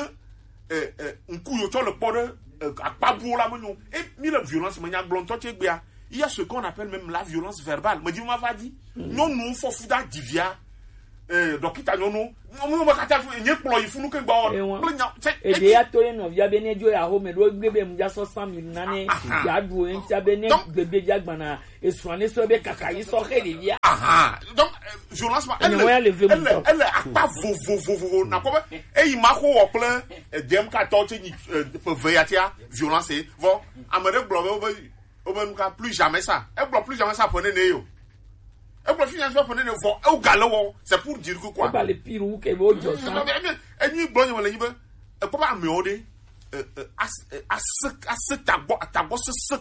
eh, eh, ŋku yo tsɔ le kpɔ ɖe eh, akpa buwo la menyo. E mi le violence me nya gblɔ ŋutɔ tse gbea, il y a ce qu'on appelle même la violence verbale. Me di ma va di nyɔnu fɔ fu da divia eh, dɔkita nyɔnu nyɔnu me kata fu nye kplɔ yi funu ke gba wɔ kple nya tse. Ede ya to ɖe nɔvia be ne dzo ya xɔ me ɖo gbe be mu dza sɔ san mi nane ya ɖu o ŋutia be ne gbegbe dza gbana esrɔ̃ ne sɔ be kaka yi sɔ xe ɖevia. Aha. Donc eh, violence ma ele ele ele akpa vovovovovo na kɔ be eyi ma xɔ wɔ kple eh, D M K tɔ tse nyi eh, ƒe ve ya tia violence vɔ ame ɖe gblɔ be wobe wobe nu ka plus jamais ça. Egblɔ plus jamais ça ƒe nene yo. Egblɔ plus jamais ça ƒe nene vɔ ewo ga le wɔ c'est pour dire que quoi. Eba le pire wu ke be wo jɔ sa. Enyi gblɔ nye me le nyi be ekpɔ be amewo ɖe eh, eh, as- eh, ase ase tagbɔ tagbɔ sese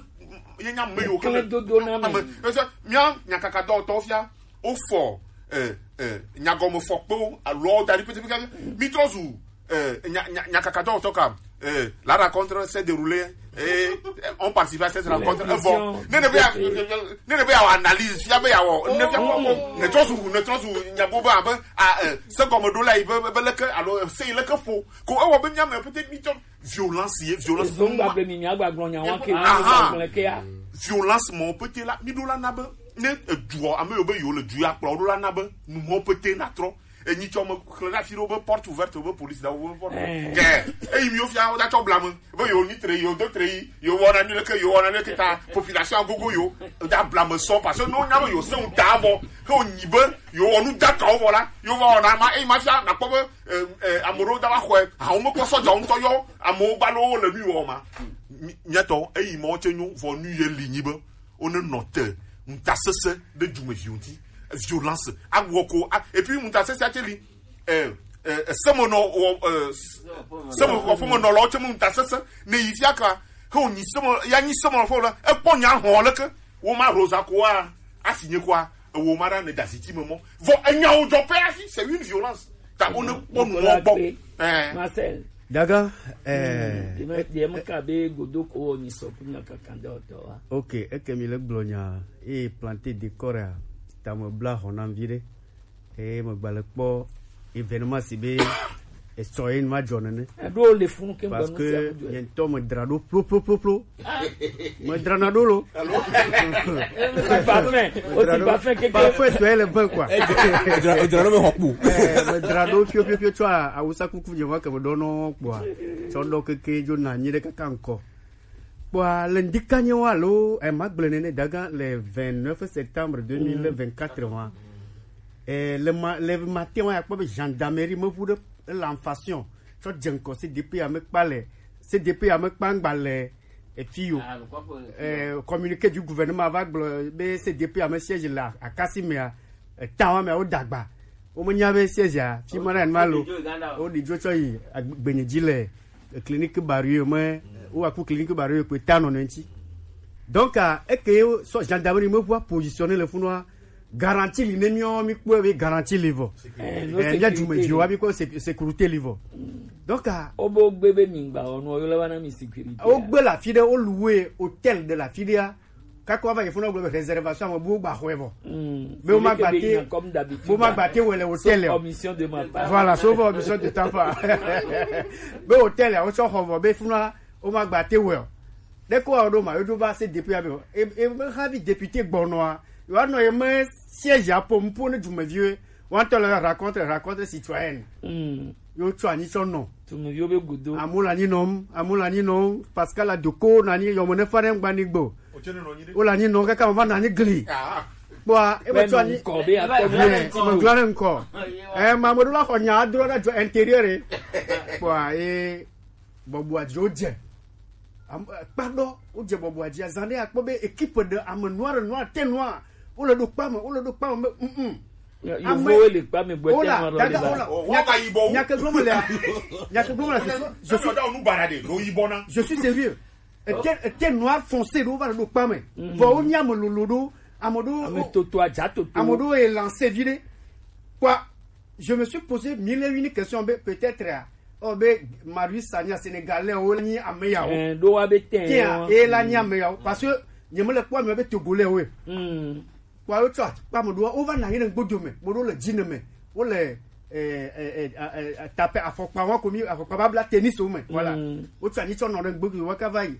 ye nya me yo ke le dodo na me. Ese mia nyakaka dɔwɔtɔwo fia wofɔ eh, eh, nyagɔmefɔkpewo alo da ɖi petepete mi trɔ zu eh, nya- nya- nyakaka dɔwɔtɔ ka eh, la rencontre s'est déroulée et eh, on participe à cette rencontre evɔ ne ne be ya ne ne be ya wɔ analyse fia be ya wɔ ne fia kɔkɔ ne trɔ zu ne trɔ zu nyabo be abe ah, eh, se gɔme ɖo la yi be be leke alo eh, se yi leke ƒo ko ewɔ be mia me pete mi tɔ violence ye violence. Ezongba be mi miagba gblɔ nya wa ke aha gblɔ ke ya. Violence mɔ pete la mi ɖo la na be ne eduɔ ame yiwo be yewo le du ya kplɔ ɖo la na be numɔ pete na trɔ enyi tsɔ me xlẽ ɖe afi ɖewo be porte ouverte be police ɖewo be porte kɛ eyi mi wo fia wo da tsɔ blame be yewo nyi tre yewo do tre yi yewo wɔna nu leke yewo wɔna nu leke ta population agogo yewo da blame sɔ parce que ne wonya be yewo se ŋu ta vɔ ke wonyi be yewo wɔ nu dakawo vɔ la yewo va wɔna ma eyi ma fia nakpɔ be eh, eh, ame ɖewo da va xɔe awo mekpɔ sɔdzawo ŋutɔ yɔ amewo gba ɖewo le nu yi wɔ ma. Mi- miatɔ eyi ma wo tse nyo vɔ nu ye li nyi be wone nɔ te ŋutasesẽ ɖe dumeviwo ŋuti violence awɔ ko a- et puis ŋutasesẽ atse li eh, eh, eh, semenɔ wɔ eh, semenɔ ƒemenɔlawo tse me ŋutasesẽ ne yi fia ka he wonyi seme ya nyi semenɔ ƒe la ekpɔ nya hɔn leke wo ma rosa koa asi nye koa ewo ma ɖa ne dasi ti me mɔ vɔ enyawo dzɔ pɛ afi c'est une violence ta wo ne kpɔ nu mɔ gbɔ. Ɛɛ. Marcel. Daga, eh, deɛ meka be godoko wɔ nyisɔ kunya kakanda ɔtɔ wa. Ok, eke mi le gblɔ nya eye planter décor a tame bla hɔ nam vi ɖe eye megba le kpɔ événement si be esɔ ye ma dzɔ nene. Eɖo le funu ke parce que nye ŋutɔ me dra ɖo plo plo plo plo. Medrana ɖo lo. Osi parfum, osi parfum keke. Parfum tɔe le vin quoi. Edra ɖo me xɔ kpo. Eh, medra ɖo pio pio pio tsɔ awusa kuku nye va ke me ɖɔ nɔ kpoa. Tsɔ ɖɔ keke dzo na nyi ɖe kaka ŋkɔ. Kpoa le ŋdi ka nye wa lo eh, magblẽ nene daga le vingt-neuf septembre deux mille vingt-quatre wa. Eh, le ma le matin wa ya kpɔ be gendarmerie me ʋu ɖe l'enfant tsɔ dze ŋkɔ C D P ya me kpa le C D P ya me kpa ŋgba le efi yo. Eh, communiqué du gouvernement va gblɔ be C D P ame siège le akasi mea etã wa mea wo dagba wo menya be siège a fi ma na ma lo wo ɖi dzo tsɔ yi gbenye dzi le clinique barrière me wo aku clinique barrière ko ta nɔ ne ŋti donc eke sɔ gendarmerie me ʋua positionné le funua garantie li ne miɔ mi kpɔe be garantie li vɔ eh mia dumeviwo wa mi kpɔ sécurité li vɔ donc a o bo gbe be mi gba ɔnu ɔyɔ la wa na mi sécurité o gbe la fi ɖe o louer hôtel de la fi ɖe a Kaka wa va yi funa gblɔ be réservation ame bu gba xɔe vɔ. Be wo ma gba te, be wo ma gba te wɔ le hôtel o. Voilà, sauf omission de temps pas. Be hôtel ya wo tsɔ xɔ vɔ be funa wo ma gba te wɔ o. Ɖe ko wa ɖo ma yo do va se depuis abe e e me havi député gbɔnɔa. Yo anɔ ye me siège apo mpo ne dumeviwo. Wa ŋutɔ le rencontre, rencontre citoyenne. Yo tsɔ anyi tsɔ nɔ. Tunuviwo be gudo. Amewo le anyi nɔm, amewo le anyi nɔm. Pascal Adoko nɔ anyi yɔme ne fa ɖe ŋgba ni gbe o. Wo le anyi nɔm kaka me va nɔ anyi gli. Kpɔa, e be tsɔ anyi. Kɔ be akɔ. Ɛ, me gblɔ ne ŋkɔ. Ɛ, ma me ɖo la xɔ nya adro ɖe dzo intérieur. Kpɔa, e bɔbɔa dzi wo dze. Am-, kpa ɖɔ, wo dze bɔbɔa dzi. Azan ɖe akpɔ be équipe de ame noir, noir, teint noir. Wo le ɖo kpa me, wo le ɖo kpa me be, mm, mm. Ame, yevowo le kpa me gbɔ, wola, teint noir daga, le ba. Wola. Nya ke gblɔm le, nya ke gblɔm le, je suis, je suis, je suis sérieux. Ete, ete noir foncé ɖo va le ɖo kpa me. Vɔ wo nya me lolo ɖo, ame ɖo, ame toto, adza toto. Ame ɖo e lancé vi ɖe. Quoi, je me suis posé mille et une questions be peut-être, ah, oh, be Marius Sagna Sénégalais wo nyi ame yawo. Eh, ɖo wa be teint. Teint, e la nyi ame yawo. Parce que nye me le kpɔ ame be Togolais wo. Kpɔ wo tsɔ akpa me ɖoa, wova nɔ anyi ɖe ŋgbodo me, me ɖo le dzi ne me, wole, eh, eh, eh, eh, eh, tape afɔkpa wa ko mi, afɔkpa babla tennis wo me, voilà. Wotsɔ anyi tsɔ nɔ ɖe ŋgbodo wa ka va yi.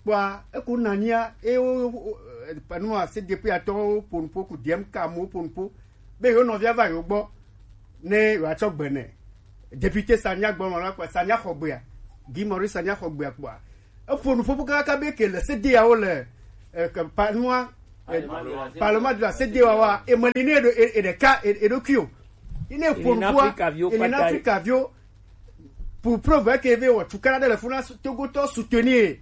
Kpɔa, eko nɔ anyia, e wo, wo, eh, panua se depuis atɔ wo po nupo ku D M K mo po nupo. Be yo nɔvia va yo gbɔ, ne yo atsɔ gbe nɛ. Député Sagna gbɔ nɔ la kpɔa, Sagna xɔ gbea. Guy Maurice Sagna xɔ gbea kpɔa. Eƒo nuƒoƒo kakaka be ke le C D A wo le, eh, ke pa-, nua, eh, Parlement de la C D A wa, e meli ne eɖo-, e-, e ɖeka, e-, eɖokui o. Yi ne ƒo nuƒoa, Afrika viwo, Afrika viwo. Pour preuve ke ve wɔ tukana ɖe le funa su-, Togotɔ soutenir.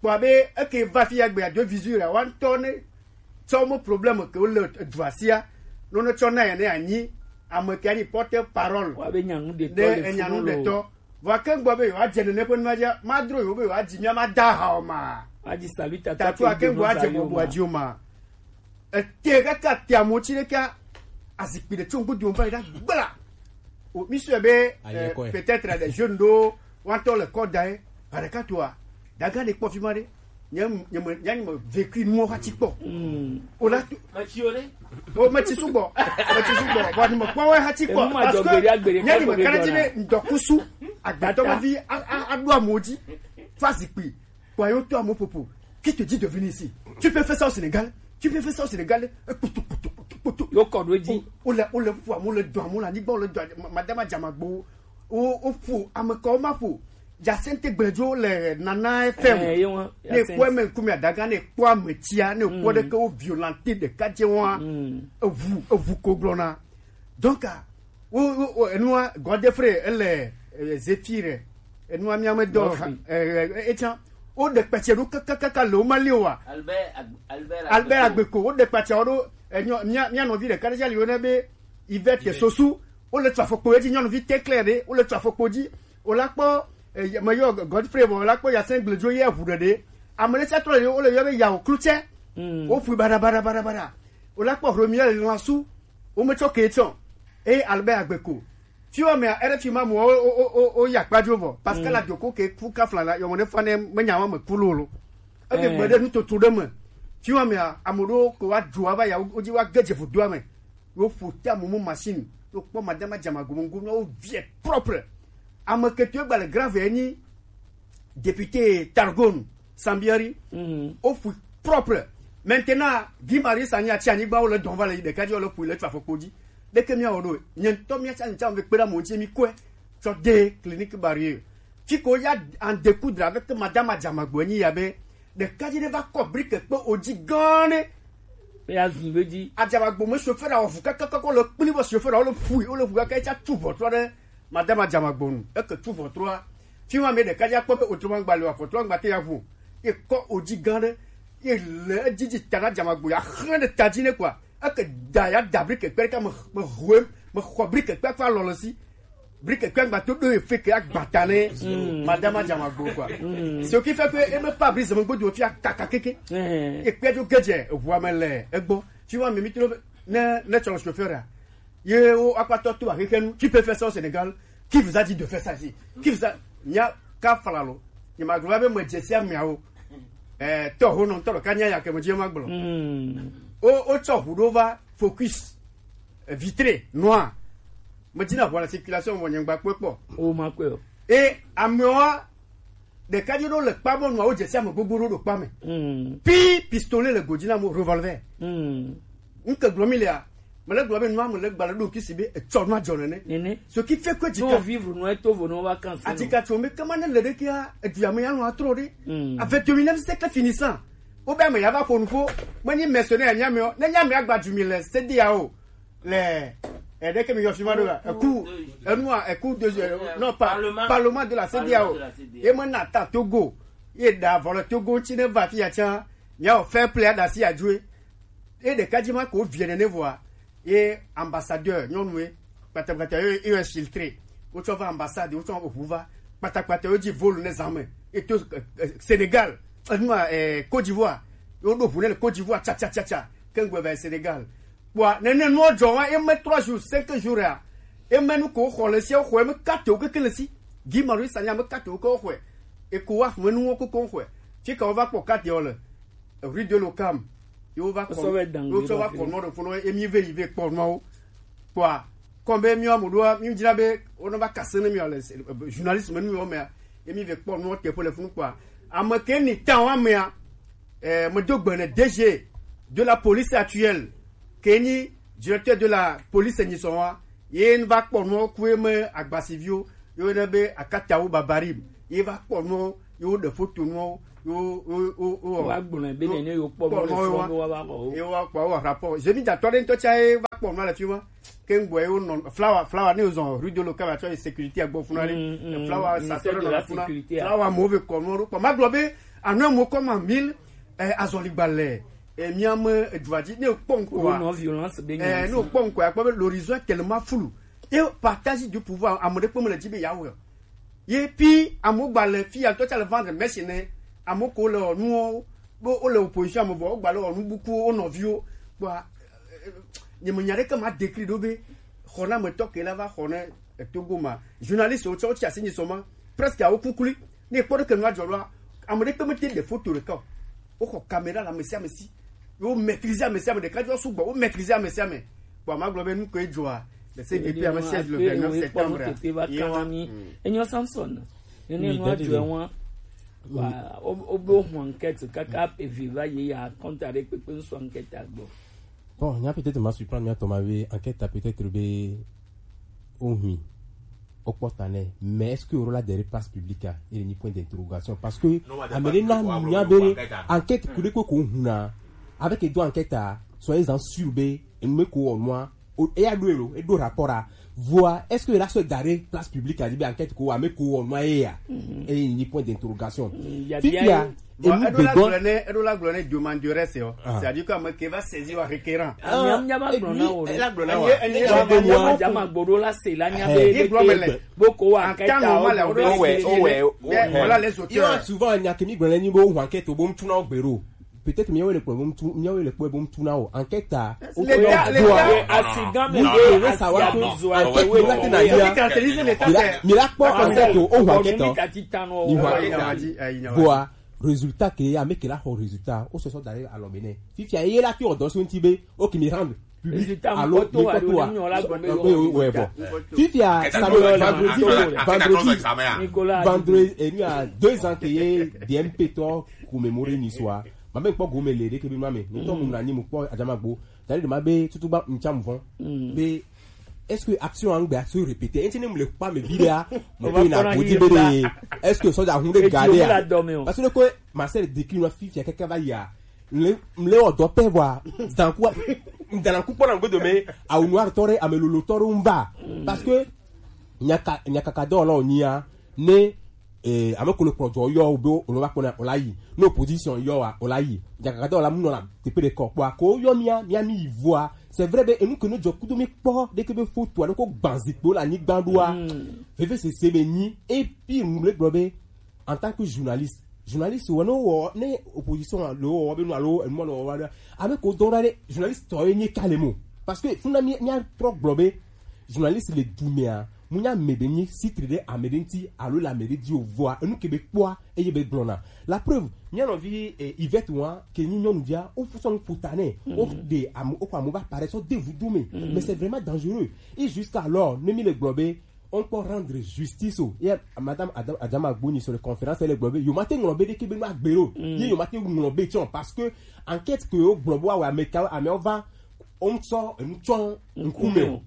Kpɔ be eke va fi ya gbe ya do visu la, wa ŋutɔ ne tsɔ mo problème ke wo le edua sia. No ne tsɔ na ya ne anyi, ame ke anyi porte parole. Wa be nyanu ɖetɔ ɖe le funu enyanuɖetɔ. Vɔ ke gbɔ be yewoadze nene ƒe nua dzia, madro yewo be yewoadzi mía mada ha o ma. Adzi salutateur. Tatu ake gbɔ adze bɔbɔa dzi o ma. Ete kaka te amewo tsi ɖeka azikpui ɖe tso ŋgbe dome va yi ɖa gbla. O, mi sue be, eh, peut-être des jeunes ɖo woatɔ le kɔ da ye. Ba ɖeka toa, daga ne kpɔ fi ma ɖe. Nye, nye me, nye, nye me vécu nuwo hã tsi kpɔ. O la tu. Metsi o ɖe. O metsi sugbɔ. Metsi sugbɔ. Vɔ ni me kpɔ wo hã tsi kpɔ. Parce que nye ni me kana dzi be ŋdɔkusu agbetɔ ma vi a, a, a ɖo amewo dzi. Fa zikpui. Kpɔ yo to amewo popo. Qui te dit de venir ici? Tu peux faire ça au Sénégal? Tu peux faire ça au Sénégal? E kputu, kputu, kputu, kputu. Yo kɔ ɖo edzi. O, o le, o le ƒo amewo le dɔ amewo le anyigba, o le dɔ ma-, madama dzamagbo. O, o ƒo ame kawo ma ƒo. Jacinthe Gbedzo le Nana F M. Eh, ye wa, ne Jacinthe. Kpɔ eme ŋkume adaga ne kpɔ ame tsia, ne kpɔ ɖeke wo violente ɖeka dze wa. Eʋu, eʋu ko gblɔna. Donc, ah, wo, wo, wo, enua, Godfrey, ele, eh, Zephyr, enua mía me dɔ, Godfrey. Eh, eh, eh, etsã, wo ɖe kpɛtsɛ ɖo kakakaka le wo ma li o wa. Albert Ag-, Albert Albert Agbeko. Agbeko, wo ɖe kpɛtsɛ wo ɖo, eh, nyɔ-, mía, mía nɔvi ɖeka ɖe sia li wo ne be Yvette Sosu, wo le tu afɔkpo edzi, nyɔnuvi tɛklɛ ɖe, wo le tu afɔkpo dzi, wo la kpɔ, eh, me yɔ Godfrey vɔ, wo la kpɔ Yasin Gledzo ye ʋu ɖe ɖe. Ame ɖe sia trɔ le wo le yɔ be Yawo Klutsɛ. Wo ƒui baɖa, baɖa, baɖa, baɖa. Wo la kpɔ Romuald Lansu, wo me tsɔ ke tsɔ. Eye Albert Agbeko. Fi wa mea, R F I ma mo, o, o, o, o, ya kpa dzo vɔ. Pascal Adjoko ke ku kafla la, yɔ mo ne fa ne me nya wa me ku lolo. Eke gbe ɖe nutoto ɖe me. Fi wa mea, ame ɖewo ko wa dzo wa va ya, wo dzi wa ge dze vodua me. Wo ƒo te amumu machine. Wo kpɔ madama dzama gomo gomo, wo vie propre. Ame ke to gba le grave enyi député Targon Sambieri. Wo ƒui propre. Maintenant, Guy Marie Sanya tsi anyigba wo le dɔn va le ɖeka dzi wo le ƒui le tso afɔkpo dzi. Ɖeke mía wɔ ɖo. Nye ŋutɔ mía tsa ŋutsa me kpe ɖe amewo ŋuti mi kɔe tsɔ de clinique barrière. Fi ko ya en découdre avec madame Adjamagbo enyi ya be ɖekadzi ɖe va kɔ brique kpe o dzi gã ɖe. Be ya zun be dzi. Adjamagbo me chauffeur a wɔ vu kakakaka le kpli bɔ chauffeur a wo le ƒui, wo le ʋu kaka etsa tu ʋɔtrɔ ɖe madame Adjamagbo nu. Eke tu ʋɔtrɔa. Fi ma me ɖekadzi akpɔ be autrement gba le wa ʋɔtrɔ gba te ya ʋu. Ye kɔ o dzi gã ɖe. Ye le edzi dzi ta na Adjamagbo ya xlẽ ɖe ta dzi ne kɔa. Eke da ya da brique kpe ɖeka me, me ʋu, me xɔ brique kpe kpe alɔ le si. Brique kpe agba to ɖo efe ke agbata ne madame Adjamagbo quoi. Ce qui fait que eme pa brise me godo fi akaka keke. Ekpe do gedze eʋua me le egbɔ. Tu vois, mais mi to ne, ne tsɔ chauffeur a. Ye wo akpatɔ to axexe nu. Tu peux faire ça au Sénégal. Qui vous a dit de faire ça ici? Qui vous a, nya ka falalo. Ni ma glo be me dze sia miawo. Eh, tɔ ho nɔ tɔ ɖeka nya ya ke me dzi ma gblɔ. Mm. O o tsɔ ʋu ɖo va focus, eh, vitré noir. Me dzi na ʋua le circulation mo nyengba kpɔe kpɔ. O ma kpɔe o. E amewa ɖeka dzi ɖo le kpa mɔ nua wo dze si ame gbogbo ɖo ɖo kpa me. Mm. Pi pistolet le godzi na mo revolver. Mm. Nke gblɔ mi lea, me le gblɔ be nua me le gbalẽ ɖo kisi be etsɔ nua dzɔ nene. Nene. Ce qui fait que dika vivre nua to vo no vacances. Adika tso me kama ne le ɖe kia edu ya me ya nɔ atrɔ ɖe. Mm. Avec deux mille neuf c'est que finissant. Wo be ame ya va ƒo nuƒo. Me nyi mercenaire nya me o. Ne nya me agba du mille c'est dia o. Le eh, ɖe ke mi yɔ fi ma ɖo la. Eku enua eku de eh, non pas parlement de la C D A O. Ye me na ta Togo. Ye da vɔ le Togo ŋuti ne va fi ya tsã. Mia o fair play da si adjoe. Ye ɖeka dzi ma ko vie nene vɔa. Ye ambassadeur nyɔnu ye kpatakpata ye ye infiltré. Wotsɔ va ambassade, wotsɔ ʋu va kpatakpata ye dzi vol ne zame. Ye to eh, eh, Sénégal, enua eh, Côte d'Ivoire. Yo ɖo ʋu ne le Côte d'Ivoire tsa tsa tsa tsa. Kengbe va Sénégal. Kpɔa nene nua dzɔ wa eme trois jours, cinq jours ya. Eme nu ko xɔ le sia xɔ eme kate wo keke le si. Gi ma ri sanya me kate wo ko xɔ. E ko wa me nu wo ko ko xɔ. Fi ka wo va kpɔ kate wo le. Rue de l'Ocam. Yo va kɔ. Yo tsɔ va kɔ nɔ de fo no emi ve yi ve kpɔ nɔ wo. Kpɔa kɔmbe mi wa mo do mi dzra be wo no va kase ne mi le journaliste me nu yo me. Emi ve kpɔ nɔ te po le funu kpɔa. Ame ke ni tan wa me a. Eh, me do gbe ne D G de la police actuelle, ke nyi directeur de la police nyi sɔn wa, ye n va kpɔ nua ku ye me agbasiviwo, yo ne be akatawo babarim, ye va kpɔ nua, yo de photo nua, yo yo yo yo wa gblɔ be ne ne yo kpɔ nua le fɔ wa va kɔ ye wa kpɔ wa rapport. Je mi da tɔ de ntɔ cha ye va kpɔ nua le fi ma. Ke ŋgbɔ ye wonɔ flawa flawa ne wozɔ rue de l'Ocam atsɔ yi sécurité agbɔ funa ɖe. Mm, mm, flawa ministère de la sécurité. Flawa mo ve kɔ nɔ ɖo kpɔ ma gblɔ be anɔ mo kɔ ma mille eh, azɔligba le eh, mia me edua dzi ne kpɔ ŋkɔa. Wonɔ violence be eh, ne kpɔ ŋkɔa kpɔ be l'horizon est tellement flou. Et partage du pouvoir ame ɖe kpɔ me le dzi be yawo ye pi amewo gba le fi ya ŋutɔ tsa le vendre mɛsi ne amewo ko le ɔnuwo be wole opposition ame vɔ wogba le ɔnu bukuwo wo nɔviwo kpɔa. Nye me nya ɖeke ma décrit ɖo be xɔnametɔ ke la va xɔ ne etogo ma journaliste wo tsɔ wo tsi asi nyi sɔ ma presque awo kukuli ne kpɔ ɖeke nua dzɔ ɖoa ame ɖeke me te ɖe photo ɖeka o. Woxɔ caméra le ame sia ame si. Wo maîtriser ame sia ame ɖeka dzo sugbɔ wo maîtriser ame sia ame. Bon ma gblɔ be nu koe dzɔa le C D P ame seize le vingt-neuf septembre. Enyo Samson. Nene nua dzɔe wa. Wa o o be o hun enquête kaka evi va ye ya compte avec pe pe nsu enquête agbo. Bon, nya peut-être ma surprendre mia toma be enquête peut-être be o hui. Okpɔ ta nɛ, mais est-ce que yɔrɔ la de place publique a? Il y a point d'interrogation parce que amele na nya be enquête kuli ko ko huna avec edo enquête a soyez en sûr be enu me ko onua. Eya do elo edo rapport a. Voa est-ce que la se gare place publique a di be enquête ko wa me ko onua eya? Il y a point d'interrogation. Fifia. Bon, edo la gblɔ ne edo la gblɔ ne demandeur c'est c'est-à-dire que ame ke va saisir wa requérant. Nyamnyama gblɔ na wo ɖe. Nyamnyama gboɖo la se la nya be le ke boko wa enquête a o. Voilà les auteurs. Souvent nya ke mi gblɔ ne ni bo wa enquête o bo mtu na o gbero. Peut-être miawo le kpɔ bo mtu miawo le kpɔ bo mtu na o enquête a. Asigan me le sa wa ko enquête la tena ya. Mi la kpɔ enquête o wa enquête o. Ni wa enquête a. Voa résultat ke ya me ke la xɔ résultat o sɔsɔ da alɔ me nɛ. Fifia ye la ki ɔdɔ so nti be o ki mi rendre public alo mi kɔto wa. Fifia samedi vendredi vendredi enu ya deux ans ke ye D M P tɔ commémorer ni soa. Ma me kpɔ gome le de ke bi ma me ni tɔ mu na ni mu kpɔ adama gbo. Tari de ma be tutu ba ncham von be est-ce que action an gbe action répéter? Enti ne mu le kpa me bi de a mo pe na godi be de. Est-ce que soja hun de garder a? Parce que ko Marcel décrit no fifia keke va ya. Mle mle o do pe vwa. Dan ku dan ku pona ngbe do me a unu ar tore a me lolo tore un va. Parce que nyaka nyaka ka do lo ni a ne eh, ame ko le kplɔ jɔ yɔ be wòle va kpɔna wòla yi ne opposition yɔ wa wòla yi dzakaka dɔ la mu nɔ la teƒe ɖe kɔ kpɔa ko yɔ mia mia mi yi voa c'est vrai be enu ke ne dzɔ kudo mi kpɔ ɖeke be foto alo ko gban zikpewo le anyigba ɖoa veve sese me nyi epi nu le gblɔ be en tant que journaliste journaliste wɔ ne wɔ ne opposition le wɔ be nu alo enu le wɔ wa ɖe ame ko dɔn ɖa ɖe journaliste tɔ ye nye ka le mo parce que funa mi mia trɔ gblɔ be journaliste le dumea Mu nya ame ɖe nyi sitri ɖe ame ɖe ŋuti alo le ame ɖe dzi o, vɔa enu ke be kpɔa eye be gblɔna. La preuve, mía nɔvi, eh, Yvette wa ke nyi nyɔnuvia, wo sɔ nu ƒo ta nɛ, wo ɖe ame, wo kɔ ame va paraître sɔ de vudo me. Mais c'est vraiment dangereux. Et jusqu'alors, ne mi le gblɔ be on peut rendre justice o. Et madame Adam, Adama Gbonyi sur le conférence, elle gblɔ be yo ma te ŋlɔ be ɖeke be no agbe o. Ye yo ma te ŋlɔ be tsɔ parce que enquête ke yo gblɔ bo awe ame ka ame va on sɔ enu tsɔ ŋkume o.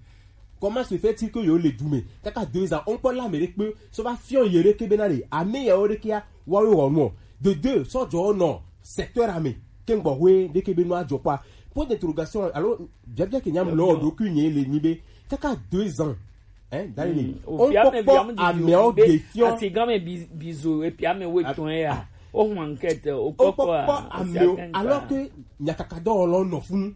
Comment se fait-il que yo le du me kaka deux ans on kpɔ la me ɖe kpe sɔ va fiɔ ye ɖeke be na le ame ya wo ɖeke ya wa wo wɔ nɔ de deux sɔ jɔ nɔ secteur ame ke ŋgbɔ hoe ɖeke be nɔ ajɔ kpa. Point d'interrogation alo biabia ke nya mlɔ ɖokui nye le nyi be kaka deux ans, hein, dali ni on kpɔ kpɔ amewo de fiɔ asigame bizo epi ame wo etɔn ya o hwan enquête o kpɔ kpɔ amewo alors que nyakaka dɔwɔlɔ nɔ funu.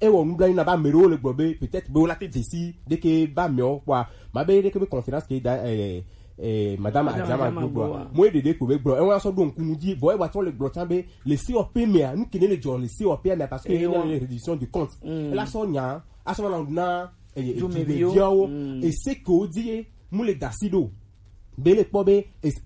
Ewɔ nublanui na be ame ɖewo le gblɔ be peut-être be wola te dzesi ɖeke be amewo kpɔa ma be ɖeke be conférence ke da eh, eh, madame Adama Gbogboa mo ɖeɖe ko be gblɔ ewa sɔ ɖo ŋku nu dzi vɔ ewa tsɔ le gblɔ tsã be le C O P mea nu kene le dzɔ le C O P mea parce que ene le reddition du compte ela sɔ nya asɔ na na eh, dumeviawo ese ke wo di ye mu le dasi ɖo be le kpɔ be es-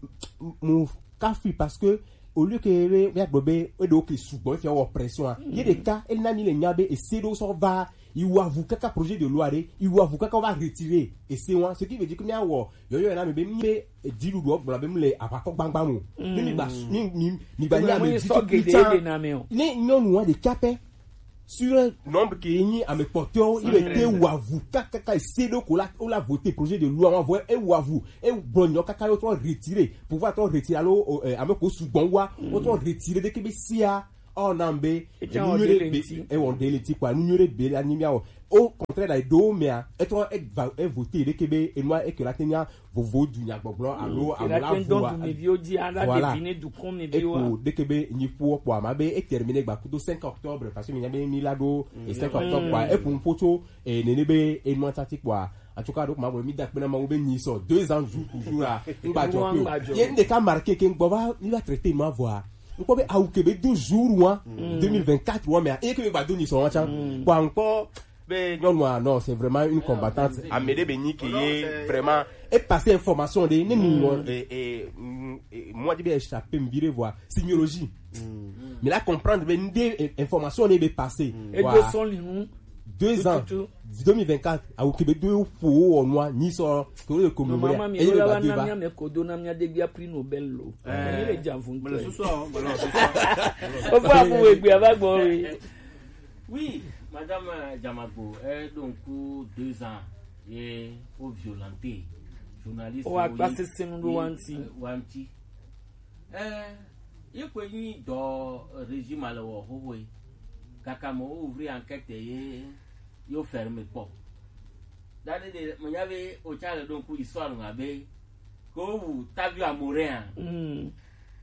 mu kafui parce que au lieu que be be agblɔ be eɖewo ke sugbɔ efia wɔ pression a ye ɖeka ena mi le nya be ese ɖewo sɔ va iwu avu kaka projet de loi ɖe iwu avu kaka va retirer ese wa ce qui veut dire que mi awɔ yɔyɔ na mi be mi be dziɖuɖu gblɔ be mi le aʋakɔ gbagba mo ne mi gba mi mi mi gba nya mi di tukui tsã ne nyɔnu wa ɖeka pɛ sur un nombre ke nyi ame kpɔtɔwo yi be te wu avu kakaka ese ɖo ko la wo la voter projet de loi wa vɔ ewu avu ewu gblɔ nyɔ kaka yo trɔ retirer pouvoir trɔ retirer alo eh, ame ko sugbɔ wa wo trɔ retirer ɖeke be sia ɔ na be enu nyuie ɖe be ewɔ ɖe le ti kpa enu nyuie ɖe be la nyi mia wɔ au contraire la ɖo mea etrɔ eva evoter ɖeke be enua eke la te nya vovo du nyagbɔgblɔ alo awo la vo wa voilà eko ɖeke be nyi ƒo kpɔ ama be e terminer gba kudo cinq octobre parce que mi nya be mi la ɖo cinq octobre kpɔ eƒo ŋƒo tso nene be enua tati kpɔa en tout cas ɖo kuma bo mi da kpe na ma wo be nyi sɔ deux ans jour pour jour a ŋgba jɔ ke o ye n ɖeka marqué ke ŋgbɔ va mi va traiter ma vɔa ŋkpɔ be awu ke be do jour wa deux mille vingt-quatre wa mea eye ke be gba do nyi sɔ wa tsa kpɔa ŋkpɔ be nyɔnua non c'est vraiment une combattante ame ɖe be nyi ke ye vraiment e passer information ɖe ne mi wɔ eh eh moi di be échappé mi vi ɖe vɔa signalogie mi la comprendre be n de information ɖe be passer edo sɔn li nu deux ans deux mille vingt-quatre awu ke be do ƒo wo wɔ nua nyi sɔ ke wo le commémorer eye be ba do va mi kodo na mi adegbia prix Nobel lo mi le dza vun to o fo amu we gbe ava gbɔ we. Oui, madame Jamagbo, eh, donc deux ans ye o violenté journaliste o akpa sesenu do wanti wanti eh ye ko nyi do régime le wo ho we kaka mo ouvrir enquête ye yo ferme po dade de mo nya be o cha le donc histoire nga be ko wu tavi amorin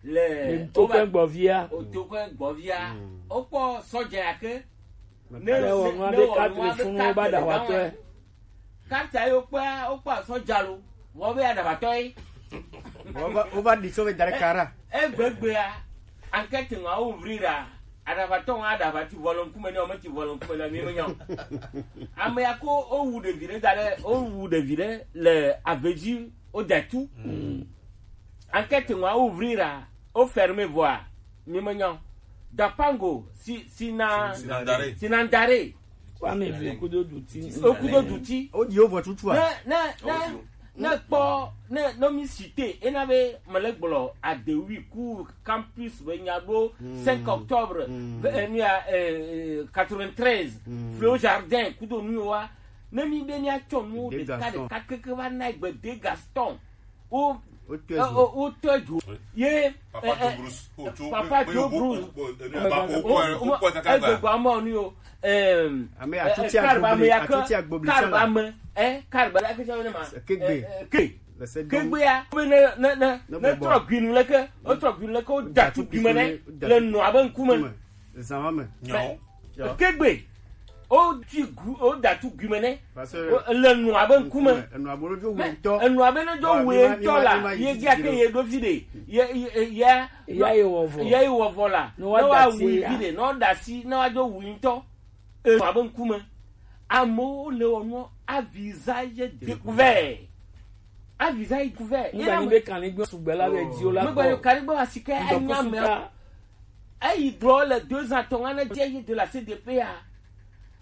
le o to ko gbɔvia o to ko gbɔvia o kpɔ sɔdze ake ne wɔ nua be katre funu ba da wa tɔ karta yi wokpɔa wokpɔa sɔdza lo vɔ be aɖaʋatɔ ye wova ɖi sɔ be da ɖe kara egbegbea enquête ŋua wo vri ɖa aɖaʋatɔ ŋua aɖaʋa ti vɔ le ŋkume ne wome ti vɔ le ŋkume ne mi menya o ame ya ko wowu ɖevi ɖe da ɖe wowu ɖevi ɖe le ave dzi wode tu enquête ŋua wo vri ɖa wo ferme vɔa mi menya o dapango si si na Sinandare. Sinandare Kwame vi okudo duti. Okudo duti. O di o vɔ tutu a. Ne ne ne ne kpɔ ne ne mi cité ena be mele gblɔ adewi ku campus be nya ɖo cinq octobre ve- eh, nu ya eh, eh, quatre-vingt-treize Fleo Jardin kudo nu wa ne mi be mi atsɔ nu ɖeka ɖeka keke va na egbe de Gaston o o tɔ dzo ye papa Joe Bruce egbegbe amɔ ni o ame atuti agbobli atuti agbobli karba ame ɛ karba la kisa ne ma kegbe kegbe ya ne ne ne ne trɔ gbinu leke o trɔ gbinu leke o datu gbime ne le nɔ abe ŋkume kegbe o ti gu o datu gume ne le nua be ŋkume enua be ne dzo wue ŋutɔ la ye dzi ake ye ɖo fi ɖe ye ye ya ya ye wɔ vɔ la ne wa wui fi ɖe ne wa da si ne wa dzo wui ŋutɔ enua be ŋkume amewo le wɔ nua a visage découvert A visa yi couvert. Ŋgba nyi be kanigbe sugbɛ la le dzi o la kpɔ. Megbe yo kanigbe wa si ke enya me. Eyi gblɔ le deux ans tɔn ane dze yi de la C D P a.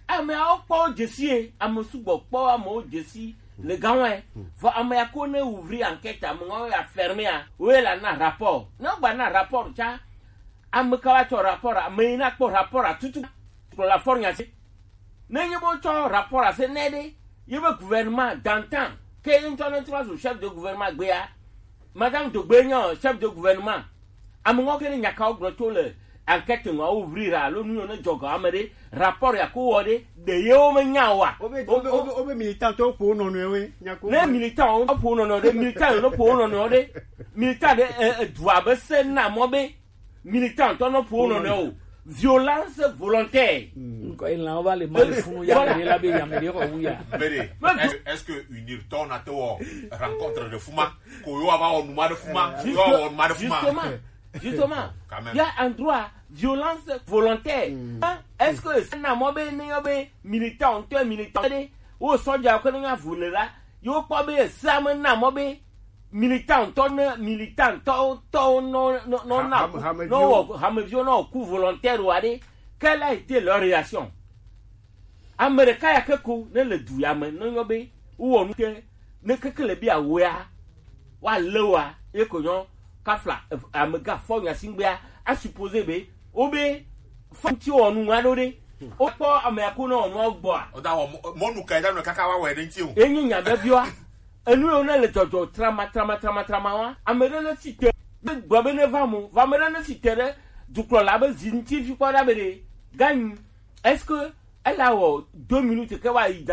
Ameawo kpɔ wo dzesi ye, ame sugbɔ kpɔ amewo dzesi le gawɔe. Vɔ ame ya ko ne ouvrir enquête, ame ŋɔ ya fermer a, wo ye la na rapport. Ne gba na rapport tsa, ame ka wa tsɔ rapport, ame yi na kpɔ rapport a tutu. Kplɔ la fɔr nya se. Ne nye bo tsɔ rapport a se ne ɖe, ye be gouvernement d'antan, ke ye ŋutɔ ne trɔ zu chef de gouvernement gbea, Madame Dogbe nye chef de gouvernement. Ame ŋɔ ke ne nyakawo gblɔ tso le enquête ŋɔ ouvrir alo nu yiwo ne dzɔ ga ame ɖe, rapport ya ko wɔ ɖe, ɖe yewo me nya wa. Wobe wobe wobe wobe militant to po nɔnɔe we. Nyako. Ne militant wo po nɔnɔ ɖe, militant yo ne po nɔnɔ ɖe, militant ɖe e, e, du abe se na mɔ be militant tɔ ne po nɔnɔ o. Violence volontaire. Nkɔ ilã wo va le ma le funu ya me la be ya me de ko wu ya. Bede, est-ce que unir tɔ na to rencontre de fuma? Ko yo ava wɔ numa ɖe fuma, yo wɔ numa ɖe fuma. Justement, justement, il y a un droit, violence volontaire. Hein? Est-ce que ça n'a mɔ be ne yo be militant, to militant de, o sɔja ko ne ya vulnera, yo kpɔ be ça me na mɔ be militant tɔ ne militant tɔ tɔ no no no na no wɔ hamevio no ku volontaire wa de, quelle a été leur réaction? Ame ɖeka ya ke ko ne le du ya me ne nyɔ be wowɔ nu ke ne keke le bi awea woalé wa ye ko nyɔ kafla amega fɔ nya si ŋgbea a supposé be wo be fɔ ŋuti wɔ nu ŋua ɖo ɖe wokpɔ ame ya ko ne wɔ nua gbɔa. Ɔda wɔ mɔ- mɔnu ka eda nɔ kaka wa wɔ ɖe ŋuti o. Enyi nya be biwa enu yiwo ne le dzɔdzɔ trama trama trama trama wa ame ɖe ne si te ne gblɔ be ne va mo va ame ɖe ne si te ɖe dukplɔla be zi ŋuti fi kpɔ ɖa be ɖe ganyi. Est-ce que elle a wɔ deux minutes ke wa yi dan